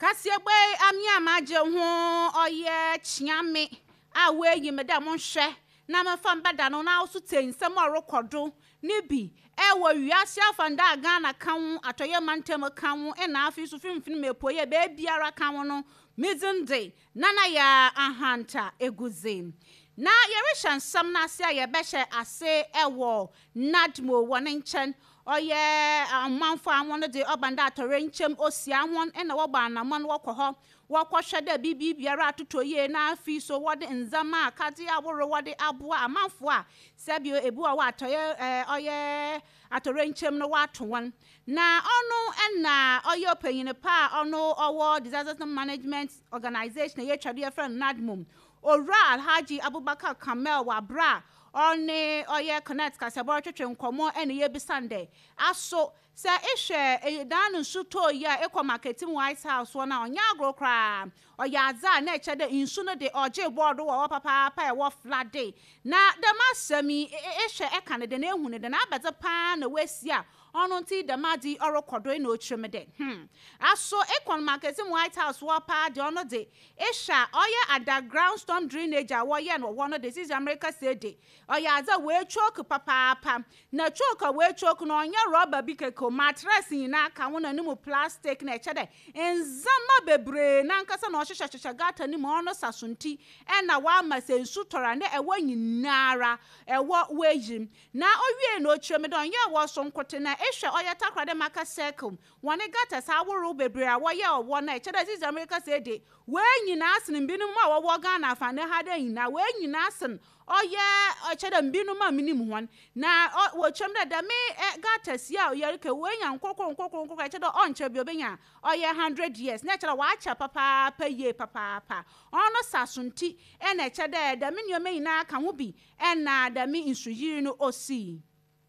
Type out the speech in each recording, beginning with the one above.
Kaseɛbɔ yi amea magye ho ɔyɛ kyeame a woeyi me dɛ monhwɛ na memfa mbɛda no na so tsie nsɛm a ɔrokɔ do ne bi ɛwɔ wiase afanda a Ghana ka ho, Atɔeɛ Mantam ka ho, ɛna afei so Finfin mu Epueɛ beebiara ka ho no, me dzin de Nana Yaa Ahanta Egudze. Na yɛrehyɛ nsɛm no ase a yɛbɛhyɛ ase ɛwɔ NADMO wɔ ne nkyɛn. Ɔyɛ ɔmanfo a wɔn de ɔban dɛ atɔrɛnkyɛm osia wɔn ɛna wɔbɔ anammɔn wɔkɔ hɔ wɔkɔhwɛ dɛ biribi biara atotɔ yie, na afei so wɔde ndzɛmba akadze ahorow wɔde aboa amanfo a sɛbio ebi wɔ hɔ atɔyɛ ɔyɛ atɔrɛnkyɛm no wɔato wɔn. Na ɔno ɛna ɔyɛ ɔpanyin pa a ɔno ɔwɔ Disaster Management Organization a yɛtwa do yɛfrɛ no NADMO, Owura Alhaji Abubakar Kamel, wɔ abere a ɔne ɔyɛ Connect kasabɔ retwetwe nkɔmmɔ, ɛna yɛbisa no dɛ aso sɛ ehwɛ dan no nsu tɔɔ yi a ekɔ market mu White House hɔ no a, ɔnyɛ agorɔ koraa, ɔyɛ adze a na ɛkyɛ dɛ nsu no de ɔgye bɔɔdo wɔ hɔ papaapa, ɛwɔ flood. Na dɛm asɛm yi, ehwɛ ɛka no dɛ na ehu no dɛ na abɛdze paa na woesi a ɔno nti dɛm adze yi ɔrekɔ do, na ɔkyerɛ mu dɛ aso ekɔ market mu White House hɔ paa deɛ, ɔno de ehwɛ a ɔyɛ underground storm drainage a wɔyɛ no wɔ hɔ no de, sisi America sɛ de ɔyɛ adze a wɔatwoke papaapa. Na choke a wɔatwoke no, ɔnyɛ rɔba bi kɛkɛ o, mattress nyinaa ka ho na ne mu plastic, na ɛkyɛ dɛ ndzɛmba bebree nankasa na ɔhyehyɛhyehyɛ gutter no mu. Ɔno sa so nti ɛna wama sɛ nsu tɔrɔ a na ɛwɔ nyinara ɛwɔ wɔayi. Na owie na ɔkyerɛ mu dɛ ɔnyɛ wɔ so nkote, na ehwɛ ɔyɛ Takoradi Market Circle wɔne gutters ahorow bebree a wɔyɛ ɔwɔ no, ɛkyɛ dɛ sisi America sɛ de wɔn nyinaa sen binom a wɔwɔ Ghana afa ne ha dɛ nyinaa, wɔn nyinaa sen ɔyɛ ɔkyɛ dɛ binom a minim hɔn. Na wɔkyerɛ mu dɛ dɛm gutters yi a yɛreka wɔanya nkorkor nkorkor nkorkor, ɛkyɛ dɛ ɔnkyerɛ bi obenya ɔyɛ 100 years, na ɛkyerɛ dɛ wɔakyɛ papaapa yie papaapa. Ɔno sa so nti ɛna ɛkyɛ dɛ dɛm nneɛma nyinaa ka ho bi ɛna dɛm nsuyiri no osii.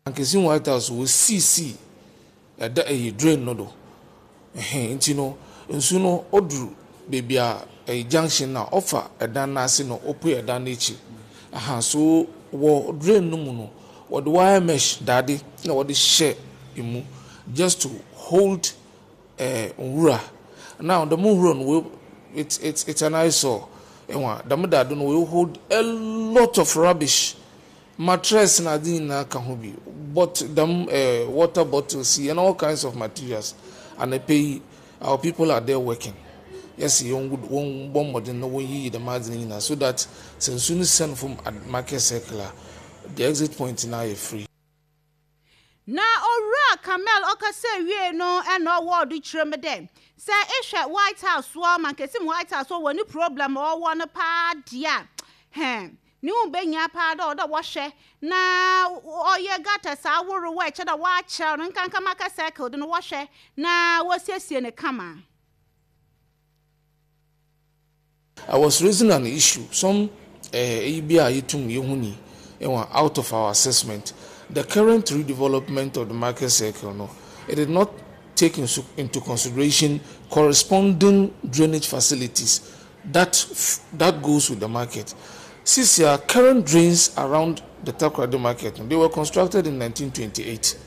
Ankesi White House wɔ siisi ɛda ɛyɛ drain no do ɛhɛn, nti no nsu no ɔduru beebi a ɛyɛ junction na ɔfa ɛdan n'ase na ɔpue ɛdan n'akyi aha. So wɔ drain no mu no, wɔde wire mesh dade na wɔde hyɛ emu just to hold nwura. Now dɛm nwura no wɔ it's an eyesore. Ɛwɔ dɛm dade no wɔ hold a lot of rubbish, mattress na ade nyinaa ka ho bi, but dɛm water bottles yi and all kinds of materials. Anapa yi our people are there working. Yɛsi wɔn wɔn bɔ mmɔden na wɔn yiyi dɛm ade no nyinaa so that sɛ nsu no sɛn from Market Circle a, the exit point na ayɛ free. Na Owura Kamel ɔkasa wie no, ɛna ɔwɔ ɔde kyerɛ mu dɛ sɛ ehwɛ White House wɔ Mankesim White House wɔ ne problem a ɔwɔ no paa deɛ a, hɛn ne ho bɛnya paa dɛ ɔdɛ wɔhwɛ na ɔyɛ gutters ahorow a ɛkyɛ dɛ wɔakyerɛw no nkanka Market Circle de no, wɔhwɛ na wɔsiesie ne kama. I was raising an issue, some eyi bi a yɛtum yɛhu ni ɛwɔ out of our assessment, the current redevelopment of the Market Circle no, it did not take into consideration corresponding drainage facilities that goes with the market. Since our current drains around the Takoradi market, they were constructed in 1928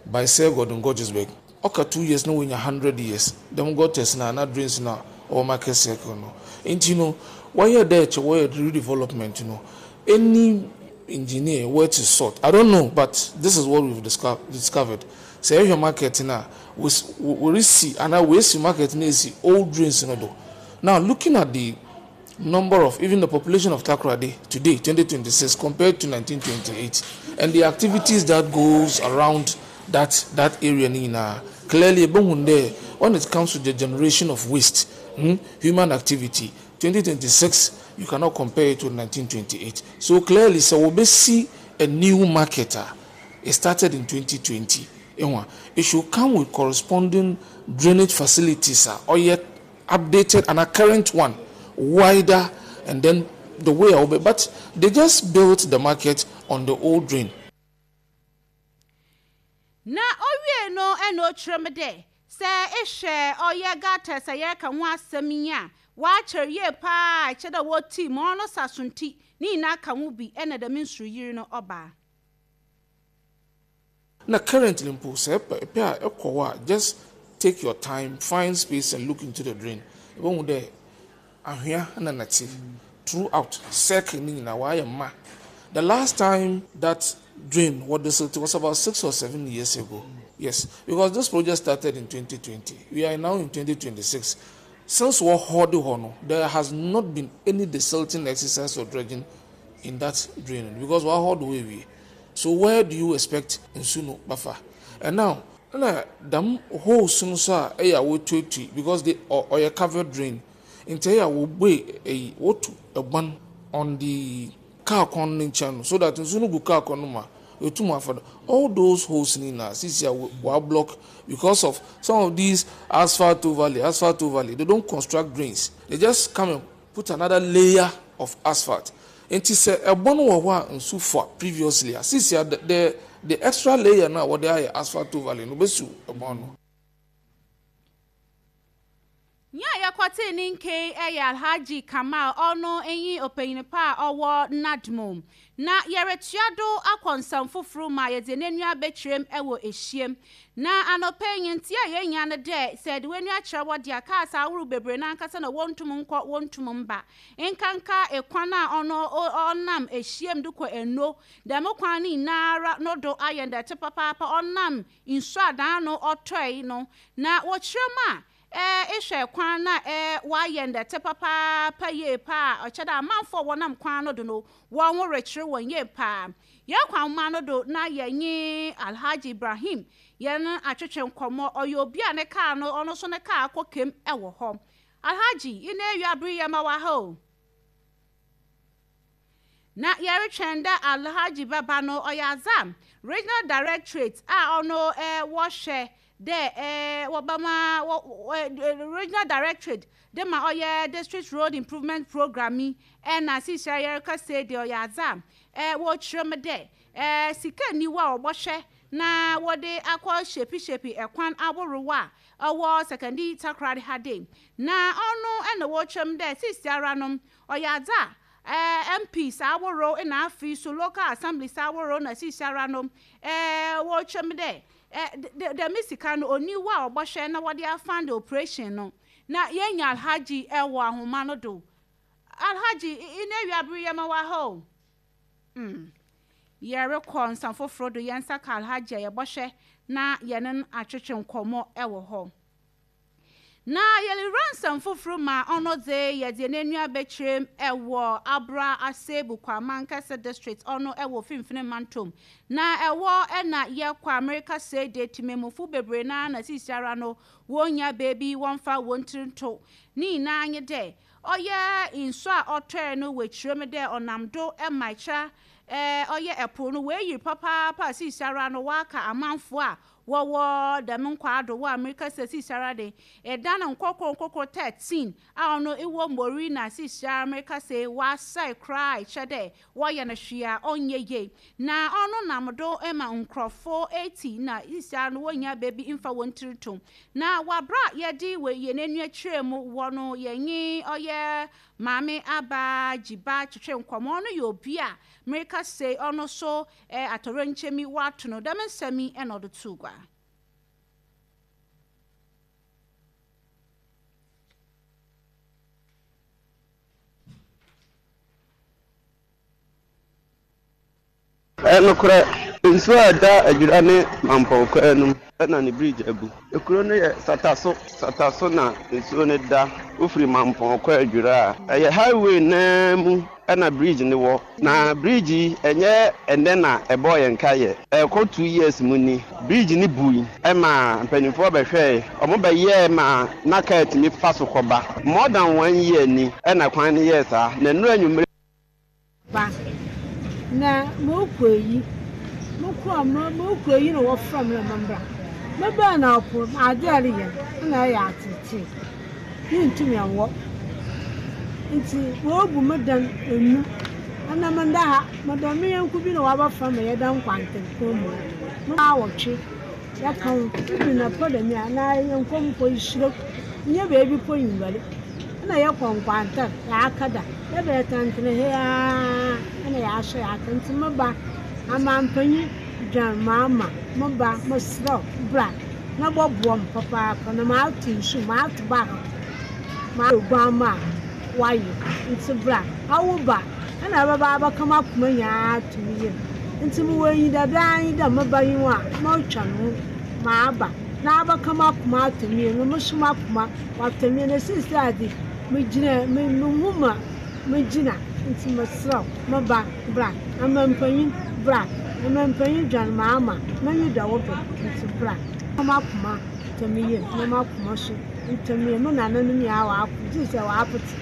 by Sir Gordon Guggisberg. Ɔka 2 years na wɔnya 100 years dɛm gutters na na drains na ɔwɔ Market Circle no. Nti no wɔyɛ dɛ kyɛ wɔyɛ redevelopment no, any engineer worth his salt, I don't know, but this is what we've discovered, sɛ ɛhwɛ market na wɔresi anaa wɔesi market na esi old drains no do. Now, looking at the number of, even the population of Takoradi today, 2026, compared to 1928, and the activities that goes around that area ni nyinaa, clearly ebohun there, when it comes to the generation of waste, human activity, 2026, you cannot compare it with 1928. So clearly, so we see a new market. It started in 2020. It should come with corresponding drainage facilities or yet updated and a current one, wider, and then the way I but they just built the market on the old drain. Na owie no, ɛna ɔkyerɛ mu dɛ sɛ ehwɛ ɔyɛ gutters a yɛreka ho asɛm yi a wɔakyerɛ yie paa, ɛkyɛ dɛ wɔti ma ɔno sa so nti ne nyinaa ka ho bi ɛna dɛm nsuyiri no ɔbaa. Na currently mpo sɛ ɛpɛ a ɛkɔ hɔ a, just take your time, find space and look into the drain. Ebohu dɛ anhwea na nɛtse throughout circle ne nyinaa wɔayɛ ma. The last time that drain wɔ desilt was about 6 or 7 years ago. Yes, because this project started in 2020. We are now in 2026. Since wɔ hɔ de hɔ no, there has not been any desilting exercise or dredging in that drain because wɔ hɔ de hɔ ewie. So where do you expect nsu no bafa? And now, na dam holes no so a ɛyɛ a wɔtuatui because they ɔyɛ covered drain. Nti ɛyɛ a wɔbue ɛyi wɔtu ɛban on the car kwan no nkyɛn no so that nsu no gu car kwan no mu a etum afa do. All those holes ni na sisi a wa block because of some of these asphalt overlay, asphalt overlay. They don't construct drains. They just come and put another layer of asphalt. Nti sɛ ɛbɔ no wɔ hɔ a nsu fa previously a, sisi a the extra layer na wɔde ayɛ asphalt overlay no bɛsu ɛbɔn no. Nyɛ a yɛkɔtee ne nke yɛ Alhaji Kamal, ɔno nyi ɔpanyin pa a ɔwɔ NADMO. Na yɛretua do akɔ nsɛm foforɔ mu a yɛdze n'enua bɛkyerɛm wɔ ehyiam. Na anɔpɛ yi nti a yɛnya no dɛ sɛ de w'enua kyerɛ wɔ deɛ cars ahorow bebree n'ankasa na wɔntum nkɔ, wɔntum mba. Nkanka ekwan a ɔno ɔnam ehyiam de kɔ eno, dɛm kwan no nyinara no do ayɛ ndɛte papaapa ɔnam nsu adan no ɔtɔe no. Na wɔkyerɛ mu a ehwɛ kwan na wayɛ ndɛte papaapa yie paa, ɔkyɛ dɛ amanfoɔ a wɔnam kwan no do no wɔn ho rekyerɛ wɔn yie paa. Yɛn kwan ma no do na yɛnye Alhaji Ibrahim yɛn atwetwe nkɔmmɔ. Ɔyɛ obi a ne kaa no ɔno nso ne kaa akɔ kem wɔ hɔ. Alhaji, yi na ewia bere yɛ ma wɔ ha o. Na yɛretwɛn dɛ Alhaji bɛba no, ɔyɛ adza Regional Directorate a ɔno wɔhwɛ dɛ wɔbɛma wɔ Regional Directorate de ma ɔyɛ District Road Improvement Programme yi, ɛna seesei yɛrekasa yi deɛ ɔyɛ adza wɔrekyerɛ mu dɛ sika nni hɔ a wɔbɔhwɛ na wɔde akɔ hyɛpihyɛpi ɛkwan ahorow a ɛwɔ Sekondi Takoradi ha de. Na ɔno ɛna wɔrekyerɛ mu dɛ seesei ara no ɔyɛ adza MPs ahorow na afei so local assemblies ahorow na seesei ara no wɔrekyerɛ mu dɛ dɛm sika no onni hɔ a wɔbɔhwɛ na wɔde afund operation no. Na yɛnya Alhaji ɛwɔ ahoma no do. Alhaji, ina awia bere yɛ ma wɔ ha o. Yɛrekɔ nsa foforɔ do, yɛn nsa ka Alhaji a yɛbɔhwɛ na yɛne no atwetwe nkɔmmɔ ɛwɔ hɔ. Na yɛrewura nsɛm foforɔ ma ɔno dze yɛde n'enua bɛkyerɛm ɛwɔ Abura Asebu Kwamankese District, ɔno ɛwɔ Finfin Mantom na ɛwɔ. Ɛna yɛkɔ Amerika sɛ de temamufo bebree na sisiara no wɔnya beebi wɔmfa wɔn tiri nto. Ne nyinaa nye dɛ ɔyɛ nsu a ɔtɔɛ no wɔ kyerɛm dɛ ɔnam do ɛma ɛkyɛ ɔyɛ ɛpo no wɔayiri papaapa a sisiara no wɔaka amanfoɔ a wɔwɔ dɛm nkwaado wɔ Amerika sɛ sisiara de ɛdan nkɔkɔ nkɔkɔ 13 a ɔno ɛwɔ Mori na sisiara Amerika sɛ wɔasɛe koraa, ɛkyɛ dɛ wɔyɛ no hwee a ɔnyɛ yie. Na ɔno nam do ma nkurɔfoɔ 80 na sisiara no wɔnya baabi mfa wɔn tiri to. Na wabra yɛde wɔ yɛn ani akyerɛ mu wɔ no, yɛnye ɔyɛ Maame Aba Gyiba twetwe nkɔmmɔ. Ɔno yɛ obi a Amerika sɛ ɔno so atɔrɔnkyɛmi wato no. Dɛm nsɛm yi ɛna ɔde to gua. Nokorɛ, nsuo a ɛda Adwira ne Mampɔn kwan no mu na ne bridge abu. Kuro no yɛ Sataso. Sataso na nsuo no da. Wofiri Mampɔn kɔ Adwira a, ɛyɛ highway naa mu na bridge no wɔ. Na bridge yi, ɛnyɛ ɛnnɛ na ɛbɔɔ yɛn kaeɛ. Ɛrekɔ 2 years mu ni. Bridge no bui ma mpanimfoɔ bɛhwɛe. Wɔbɛyɛɛ ma na kaa tumi fa so kɔba. More than one year ni ɛna kwan no yɛɛ saa. Na nnura anwummerɛ Ba na mokɔ yi, mokɔ mokɔ yi na wɔfrɛ me na membra. Mebaa na ɔpo ade a ɛreyɛ no na ɛyɛ atetee. Mentumi nwɔ. Nti wɔabu me dan enu. Ɛna menda ha, meda me yɔnko bi na wabɛfrɛ me yɛda nkwantenpɔn mu. Me awɔtwe yɛka ho ebi na pɔ dɛm a na yɛnkɔ mpo nhyira nyɛ baabi po nware. Ɛna yɛkɔ nkwantan yɛaka da yɛbɛyɛ tɛntene he ara ɛna yɛahyɛ yɛaka. Nti me ba amampanyin dwan maama me ba, mesrɛ wo bra na bɔboa me papaapa na maato nsu maato baako. Mayɛ oguamma a wɔayew, ntsi bra, awo ba na ebɛba abɛka m'akoma nyina ato me yamu. Ntsi mowɔ enyidado ara nye dɛ meba nye wo a morotweɔn wo maaba na abɛka m'akoma ato me yamu na mo so m'akoma ɔatɔ me yamu. Na seseiara dze, migyina munnhu ma migyina, ntsi meserɛ wo, me ba, bra. Amampanyin, bra. Amampanyin dwan m'ama, m'enyi da wo do, ntsi bra. Ka m'akoma tɔ me yamu na m'akoma so ntɔ me yamu, me nananom nyina wɔako, gyedɛ wɔapetse.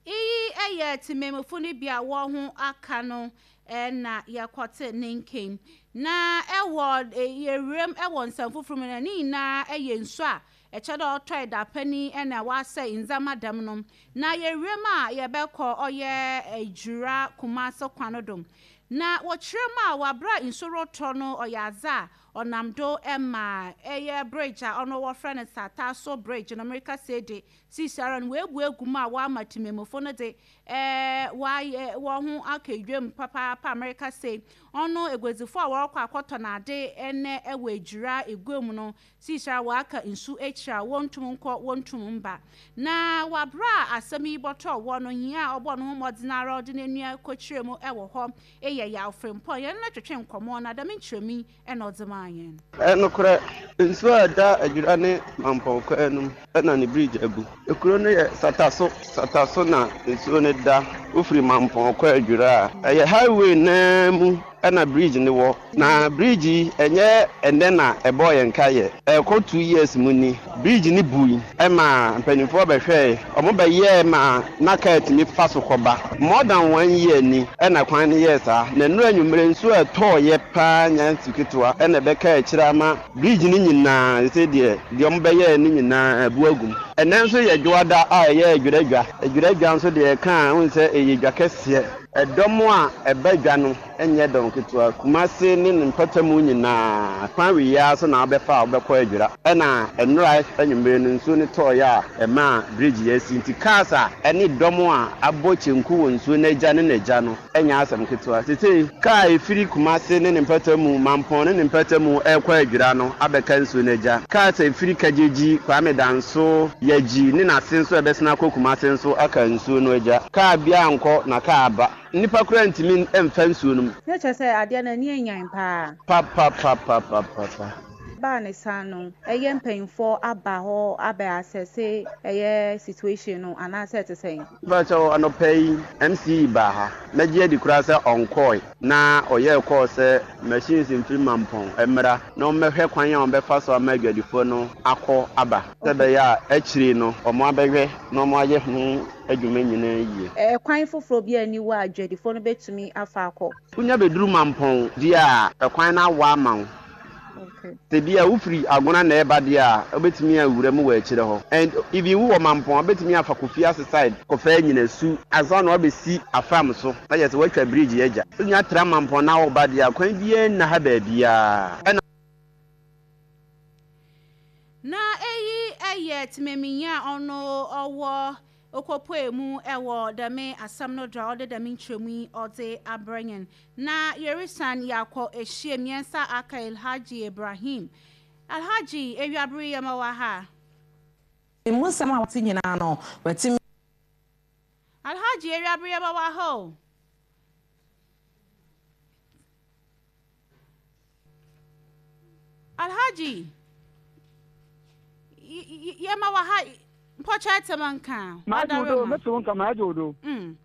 Iyi yɛ tsemammufo no bi a hɔnho aka no na yɛkɔtse ne nkan. Na wɔ yɛwura mu wɔ nsɛm fofor mu no, ne nyina yɛ nsu a ɛkyerɛ dɛ ɔtɔe dapɛn yi na ɔasɛɛ ndzɛmba dɛm no. Na yɛwura mu a yɛbɛkɔ ɔyɛ Ejura Kumase kwan no do. Na wɔkyerɛ mu a wɔ aber a nsu rotɔ no ɔyɛ adze a ɔnam do ma ɛyɛ bridge a ɔno wɔfrɛ no Sataso bridge no merekasa yi de Seisiara no, woebu egu mu a wɔama tsemammufo no dze wɔayɛ hɔnho aka edwa mu papaapa. Merekasa yi, ɔno eguadzifo a wɔrokɔ akɔtɔn adze ndɛ wɔ Ejura egua mu no, seisiara wɔaka nsu ekyir a wonntum nnkɔ, wonntum mmba. Na wɔ aber a asɛm yi bɔtɔɔ hɔ no, nyia a ɔbɔɔ noho mbɔdzen ara ɔdze n'enua kɔkyerɛɛ mu wɔ hɔ yɛ Yaw Frimpong. Yɛnye no twetwee nkɔmbɔ na dɛm nkyerɛmu yi na ɔdze maa hɛn. Nokorɛ, nsuo a ɛda Adwira ne Mampɔn kwan no mu na ne bridge abu. Kuro no yɛ Sataso, Sataso na nsuo no da. Wofiri Mampɔn kɔ Adwira a, ɛyɛ highway no ara mu na bridge no wɔ. Na bridge yi, ɛnyɛ ɛnnɛ na ɛbɔɔ yɛn kaeɛ, ɛrekɔ 2 years mu ni. Bridge no bui maa mpanimfoɔ bɛhwɛɛe, wɔbɛyɛɛ ma na kaa tumi fa so kɔba. More than one year ni na kwan no yɛɛ saa. Na nnora anwummerɛ nsuo a ɛtɔeɛ pa ara nyɛ nsu ketewa na ɛbɛkaa akyire ama bridge no nyinaa seesei deɛ, deɛ wɔbɛyɛɛ no nyinaa abu agu mu. Ɛnnɛ nso yɛ Dwoada a ɛyɛ Adwira Dwa. Adwira Dwa nso deɛ yɛka a, wohu sɛ ɛyɛ dwa kɛseɛ. Ɛdɔm a ɛba dwa no nyɛ dɔm ketewa. Kumase ne ne mpɔtamu nyinaa, kwan wei ara so na wobɛfa a wobɛkɔ Adwira. Ɛna nnora anwummere no nsuo no tɔeɛ a ɛmaa bridge yi asi nti cars a ɛne dɔm a abɔ kyenku wɔ nsuo no agya ne n'agya no nyɛ asɛm ketewa. Seesei kaa a ɛfiri Kumase ne ne mpɔtamu, Mampɔn ne ne mpɔtamu rekɔ Adwira no abɛka nsuo no agya. Cars a ɛfiri Kagyegyi, Kwame Danso, Yagyi ne n'ase nso a ɛbɛsene akɔ Kumase nso aka nsuo no agya. Kaa biara nkɔ na kaa aba. Nnipa koraa ntumi mfa nsuo no mu. Na kyerɛ sɛ adeɛ no ani anyan paa. Papapapapapa. Baa ne saa no, ɛyɛ mpanyinfoɔ aba hɔ abɛ asɛse ɛyɛ situation no anaasɛ ɛte sɛn? Mpakyɛw, anɔpa yi MC baa ha. Mɛgye adi koraa sɛ ɔnkɔɔe na ɔyɛɛ call sɛ machines mfiri Mampɔn mmra na wɔmmɛhwɛ kwan a wɔbɛfa so ama adwadifoɔ no akɔ aba sɛ ɛbɛyɛ a akyire no wɔabɛhwɛ na wɔayɛ ho adwuma nyinaa yie. Ɛkwan foforɔ biara nni hɔ a adwadifoɔ no bɛtumi afa akɔ? Wonya bɛduru Mampɔn deɛ a, ɛkwan no awa ama wo. Sɛ bi a wofiri Agona na ɛreba deɛ a, wobɛtumi awura mu wɔ akyire hɔ. And even wowɔ Mampɔn a, wobɛtumi afa Kofiase side kɔfa Anyinasu ansa na woabɛsi Afram so, na kyerɛ sɛ woatwa bridge agya. Wonya tra Mampɔn na woreba deɛ a, kwan biara nna ha baabiara. Ɛna. Na eyi yɛ tsemanminyi a ɔno ɔwɔ Okopuei mu wɔ dɛm asɛm no do a ɔde dɛm nkyerɛmu yi ɔdze abrɛ hɛn. Na yerisan yɛakɔ ehyiam, hɛn nsa aka Alhaji Ibrahim. Alhaji, ewiaber yi yɛma wo aha. Emu nsɛm a wate nyinaa no, watumi. Alhaji, ewiaber yɛma wo aha o. Alhaji, yɛma wɔ ha mpɔkyɛ tɛm nka. Magye wo do, mete wo nka, magye wo do. Mm.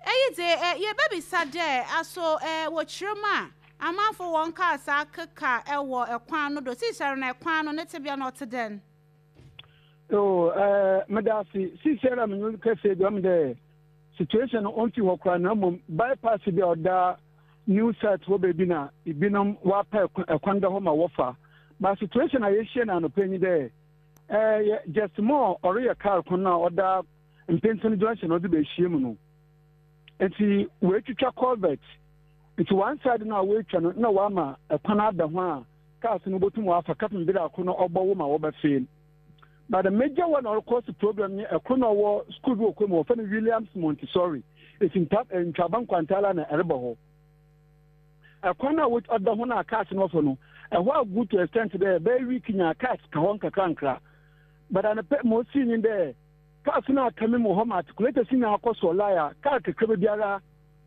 Eyi dze, yɛbɛbisa dɛ, aso wɔ kyerɛ mu a, amanfo wɔn cars akeka wɔ kwan no do? Seisiara no, kwan no ne tsebea no ɔtse dɛn? Oh, eh, meda ase. Seisiara menye wo kasa yi, ɔmo dɛ situation no ɔmmfi hɔ koraa na mbom bypass bi a ɔda new site hɔ beebi na binom wɔapɛ kwan da hɔ ma wɔfa. But situation a yehyia no anɔpa yi nye dɛ, eh, yɛ just more ɔreyɛ kaar kwan no a ɔda Mpentsen junction ɔdze behyia mu no. Ntsi woetwitwa culvert. Ntsi one side no a woetwa no nna wɔama kwan ada ho a cars no botum wɔafa kɛpem ber a kor no ɔbɔwo ma wɔbɛfee. But the major one a ɔrokɔ problem nye kor na ɔwɔ school bi wɔ kurom hɔ wɔfrɛ no Williams Montessori. Efi nta Ntwaba Nkwanta na ɛreba hɔ. Ɛkwan a ɔda ho no a cars no wɔfa no, ɛhɔ agu to extent dɛ bɛyɛ week nya cars ka hɔ nkakrankra. But anapa ma osii nye dɛ cars no aka me mu wɔ hɔ ma articulators nyina akɔ sɔ line a car kakraba biara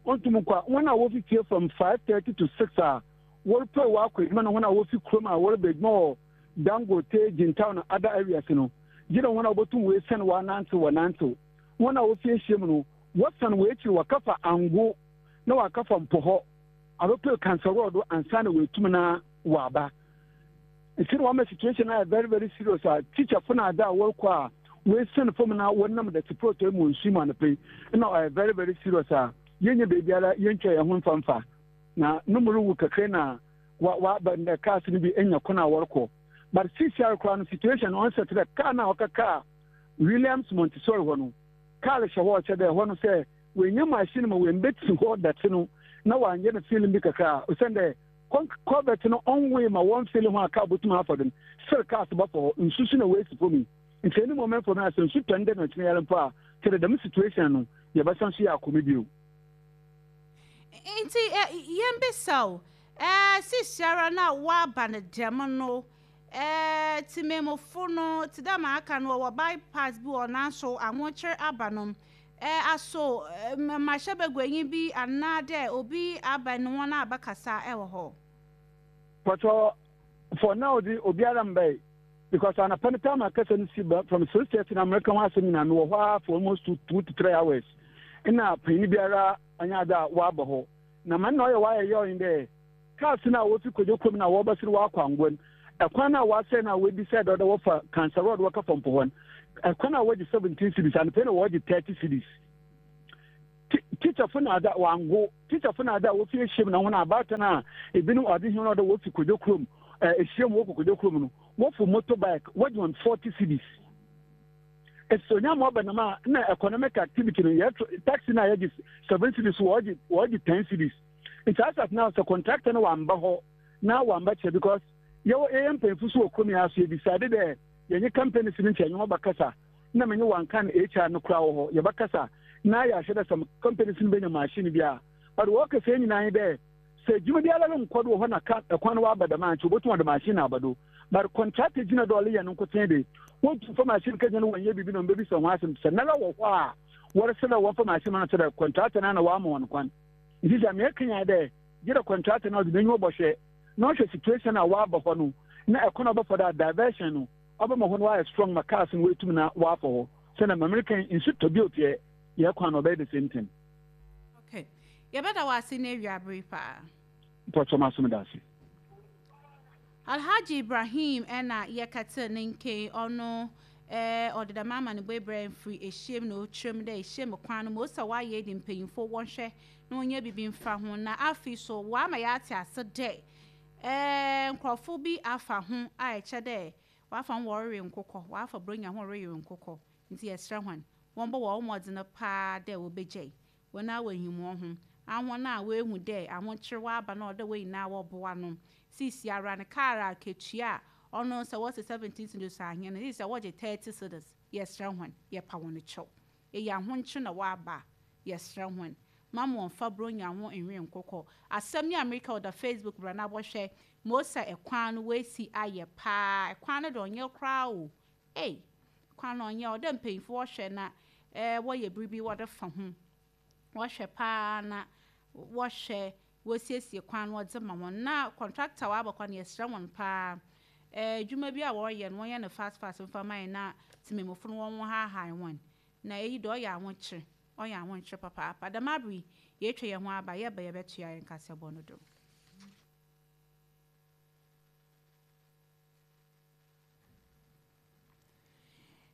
onntum nnkɔ a hɔn a wofi fie from 5:30 to 6 a wɔrepue wɔakɔ edwuma na hɔn a wofi kurom a wɔreba edwuma wɔ Dangote, Jintao na other areas no, gyedɛ hɔn a wobotum woesian wɔanantsew wɔnantsew. Hɔn a wofi ehyia mu no, wɔsan hɔn ekyir wɔkɛfa Ango na wɔakɛfa Mpohɔ abɛpue Kansawor do ansaana woetum na wɔaba. Ntsi na wɔama situation no ayɛ very very serious a teacherfo na adze a wɔrokɔ a woesian famu na wɔnam dɛtse prɔtɔe mu wɔ nsu mu anapa yi nna ɔyɛ very very serious a yennya beebiara yentwa hɛnho mfa mfa na no mu ruwu kakra na wɔaba ndɛ cars no bi enya kwan a wɔrokɔ but sisiara koraa no situation no ɔnnsɛ tse dɛ car no a ɔkɛkaa Williams Montessori hɔ no car hyɛ hɔ ɔkyerɛ dɛ hɔ no sɛ woennya machine ma woemmbetsi hɔ dɛtse no na wɔannyɛ no filling bi kakra a osiandɛ culvert no ɔnnwoe ma wɔmmfille ho a car botum afa do no still cars bɔfa hɔ nsu so na woesi famu yi ntsi any moment from now sɛ nsu tɔ ndɛ na ɔkyena yi ara mpo a kyerɛ dɛ dɛm situation no yɛbɛsan so yɛ akɔ mu bio. Ntsi yɛmbisa o, seseiara no a wɔaba no dɛm no, tsemamufo no, tse dɛ ma aka no, wɔwɔ bypass bi wɔ hɔ naaso ahokyer aba no, aso mmarahyɛbaguanyi bi anaadɛ obi aba nye hɔn abɛkasa wɔ hɔ? Pacho, for now dze obiara mmbae because anapa no time a kasa no si ba from 6:30 na mereka ho asɛm nyina mewɔ hɔ ara for almost 2 to 3 hours nna panyin biara ɔnnyɛ adze a ɔaba hɔ. Na ma nna ɔyɛ wɔayɛ yaw nye dɛ cars no a wofi Kojo kurom na wɔrebɛsen wɔakɔ Angoa no, kwan no a wɔasɛɛ no a woedecide dɛ ɔwɔ dɛ wɔfa Cancer Road wɔkɔ Fɔmpo hɔ no, kwan a wɔgye 17 cedis, anapa yi na wɔregye 30 cedis. Teacherfo na adze a wɔango, teacherfo na adze a wofi ehyiam na hɔn abaatan a binom ɔdze hɛn ɔdɛ wofi Kojo kurom, ehyiam wɔkɔ Kojo kurom no, wɔfow motorbike, wɔgye hɔn 40 cedis. Efisɛ onya ma ɔba nam a na economic activity no yɛ taxi na yɛgye 7 cedis wɔgye wɔgye 10 cedis. Nti as at now sɛ contractor no wamba hɔ na wamba kyerɛ because yɛwɔ yɛyɛ mpanyinfo so wɔ kurom yi so yɛ decide dɛ yɛnye companies no nkyɛ yɛnye wɔn bɛkasa na menye wankan HR no koraa wɔ hɔ yɛbɛkasa na yɛahwɛ dɛ some companies no benya machine bi a but wɔkasa yi nyinaa nye dɛ Sɛ edwuma biara ronnkɔ do wɔ hɔ na ka kwan no wɔaba dɛm a, nkyɛ wobotum wɔdze machine aba do. But contractor gyina do a ɔreyɛ no nkotsee de, wonntum mfa machine kɛgyina no wɔnnyɛ biribi na wɔmbebisa hɔn asɛm. Sɛ noara wɔ hɔ a wɔreserɛ dɛ wɔmfa machine ma no kyerɛ dɛ contractor no ara na ɔama hɔn kwan. Ntsi dza mereka nye dɛ, gyedɛ contractor no ɔdze n'enyiwa bɔhwɛ na ɔhwɛ situation a wɔaba hɔ no na kwan a ɔbɛfa do a diversion no ɔbɛma hɔ no wɔayɛ strong ma cars no woetum na wɔafa hɔ. Sɛ na ma mereka yi, nsu tɔ bio pɛ, yɛ kwan no ɔbɛyɛ the same thing. Okay. Yɛbɛda wo ase ne awiabere paa. Mpɔkyɛ maso meda ase. Alhaji Ibrahim ɛna yɛkɛtse ne nke ɔno eh, ɔde dɛm amanebɔ brɛ mfiri ehyiam na ɔkyerɛ mu dɛ ehyiam kwan no ma ɔsɛ wayɛ de mpanyimfo wɔnhwɛ na wɔnyɛ biribi mfa ho na afei so wɔama yɛate ase dɛ eh, nkurɔfo bi afa ho a ɛkyɛ dɛ wɔafa ho wɔrewe nkokɔ, wɔafa buronya ho wɔrewe nkokɔ nti yɛsrɛ hɔn wɔmbɔ wɔn mmɔdzen paa dɛ wɔbɛgyae hɔn a woenyim hɔnho, ahɔn a woehu dɛ ahokyer ɔaba na ɔwɔ dɛ hɔn nyina wɔboa no. Seseiara no, kaar akatua a ɔno sɛ wɔse 17 cedis a hɛn no, sesei wɔgye 30 cedis. Yɛserɛ hɔn, yɛpa hɔn kyɛw. Iyi ahokyer na ɔaba a, yɛserɛ hɔn, mma wɔmmfa Buronya ho nnwe nkokɔ. Asɛm yi a mereka yi ɔda Facebook bra na bɔhwɛ. Ma osian kwan no woesi ayɛ paa. Kwan no de ɔnnyɛ koraa o. Ei! Kwan no ɔnnyɛ, ɔwɔ dɛ mpanyimfo wɔhwɛ na wɔyɛ biribi wɔdze fa ho. Wɔhwɛ paa na wɔhwɛ wosiesie kwan no wɔdze ma hɔn. Na contractor a ɔaba kwan no yɛserɛ hɔn paa, edwuma bi a wɔreyɛ no wɔnyɛ no fast fast mfa mma hɛn na tsemamufo no wɔnhaahae hɔn. Na iyi de ɔyɛ ahokyer, ɔyɛ ahokyer papaapa. Dɛm aber yi yeetwa hɛnho aba, yɛba yɛbɛtoa hɛn kaseɛbɔ no do.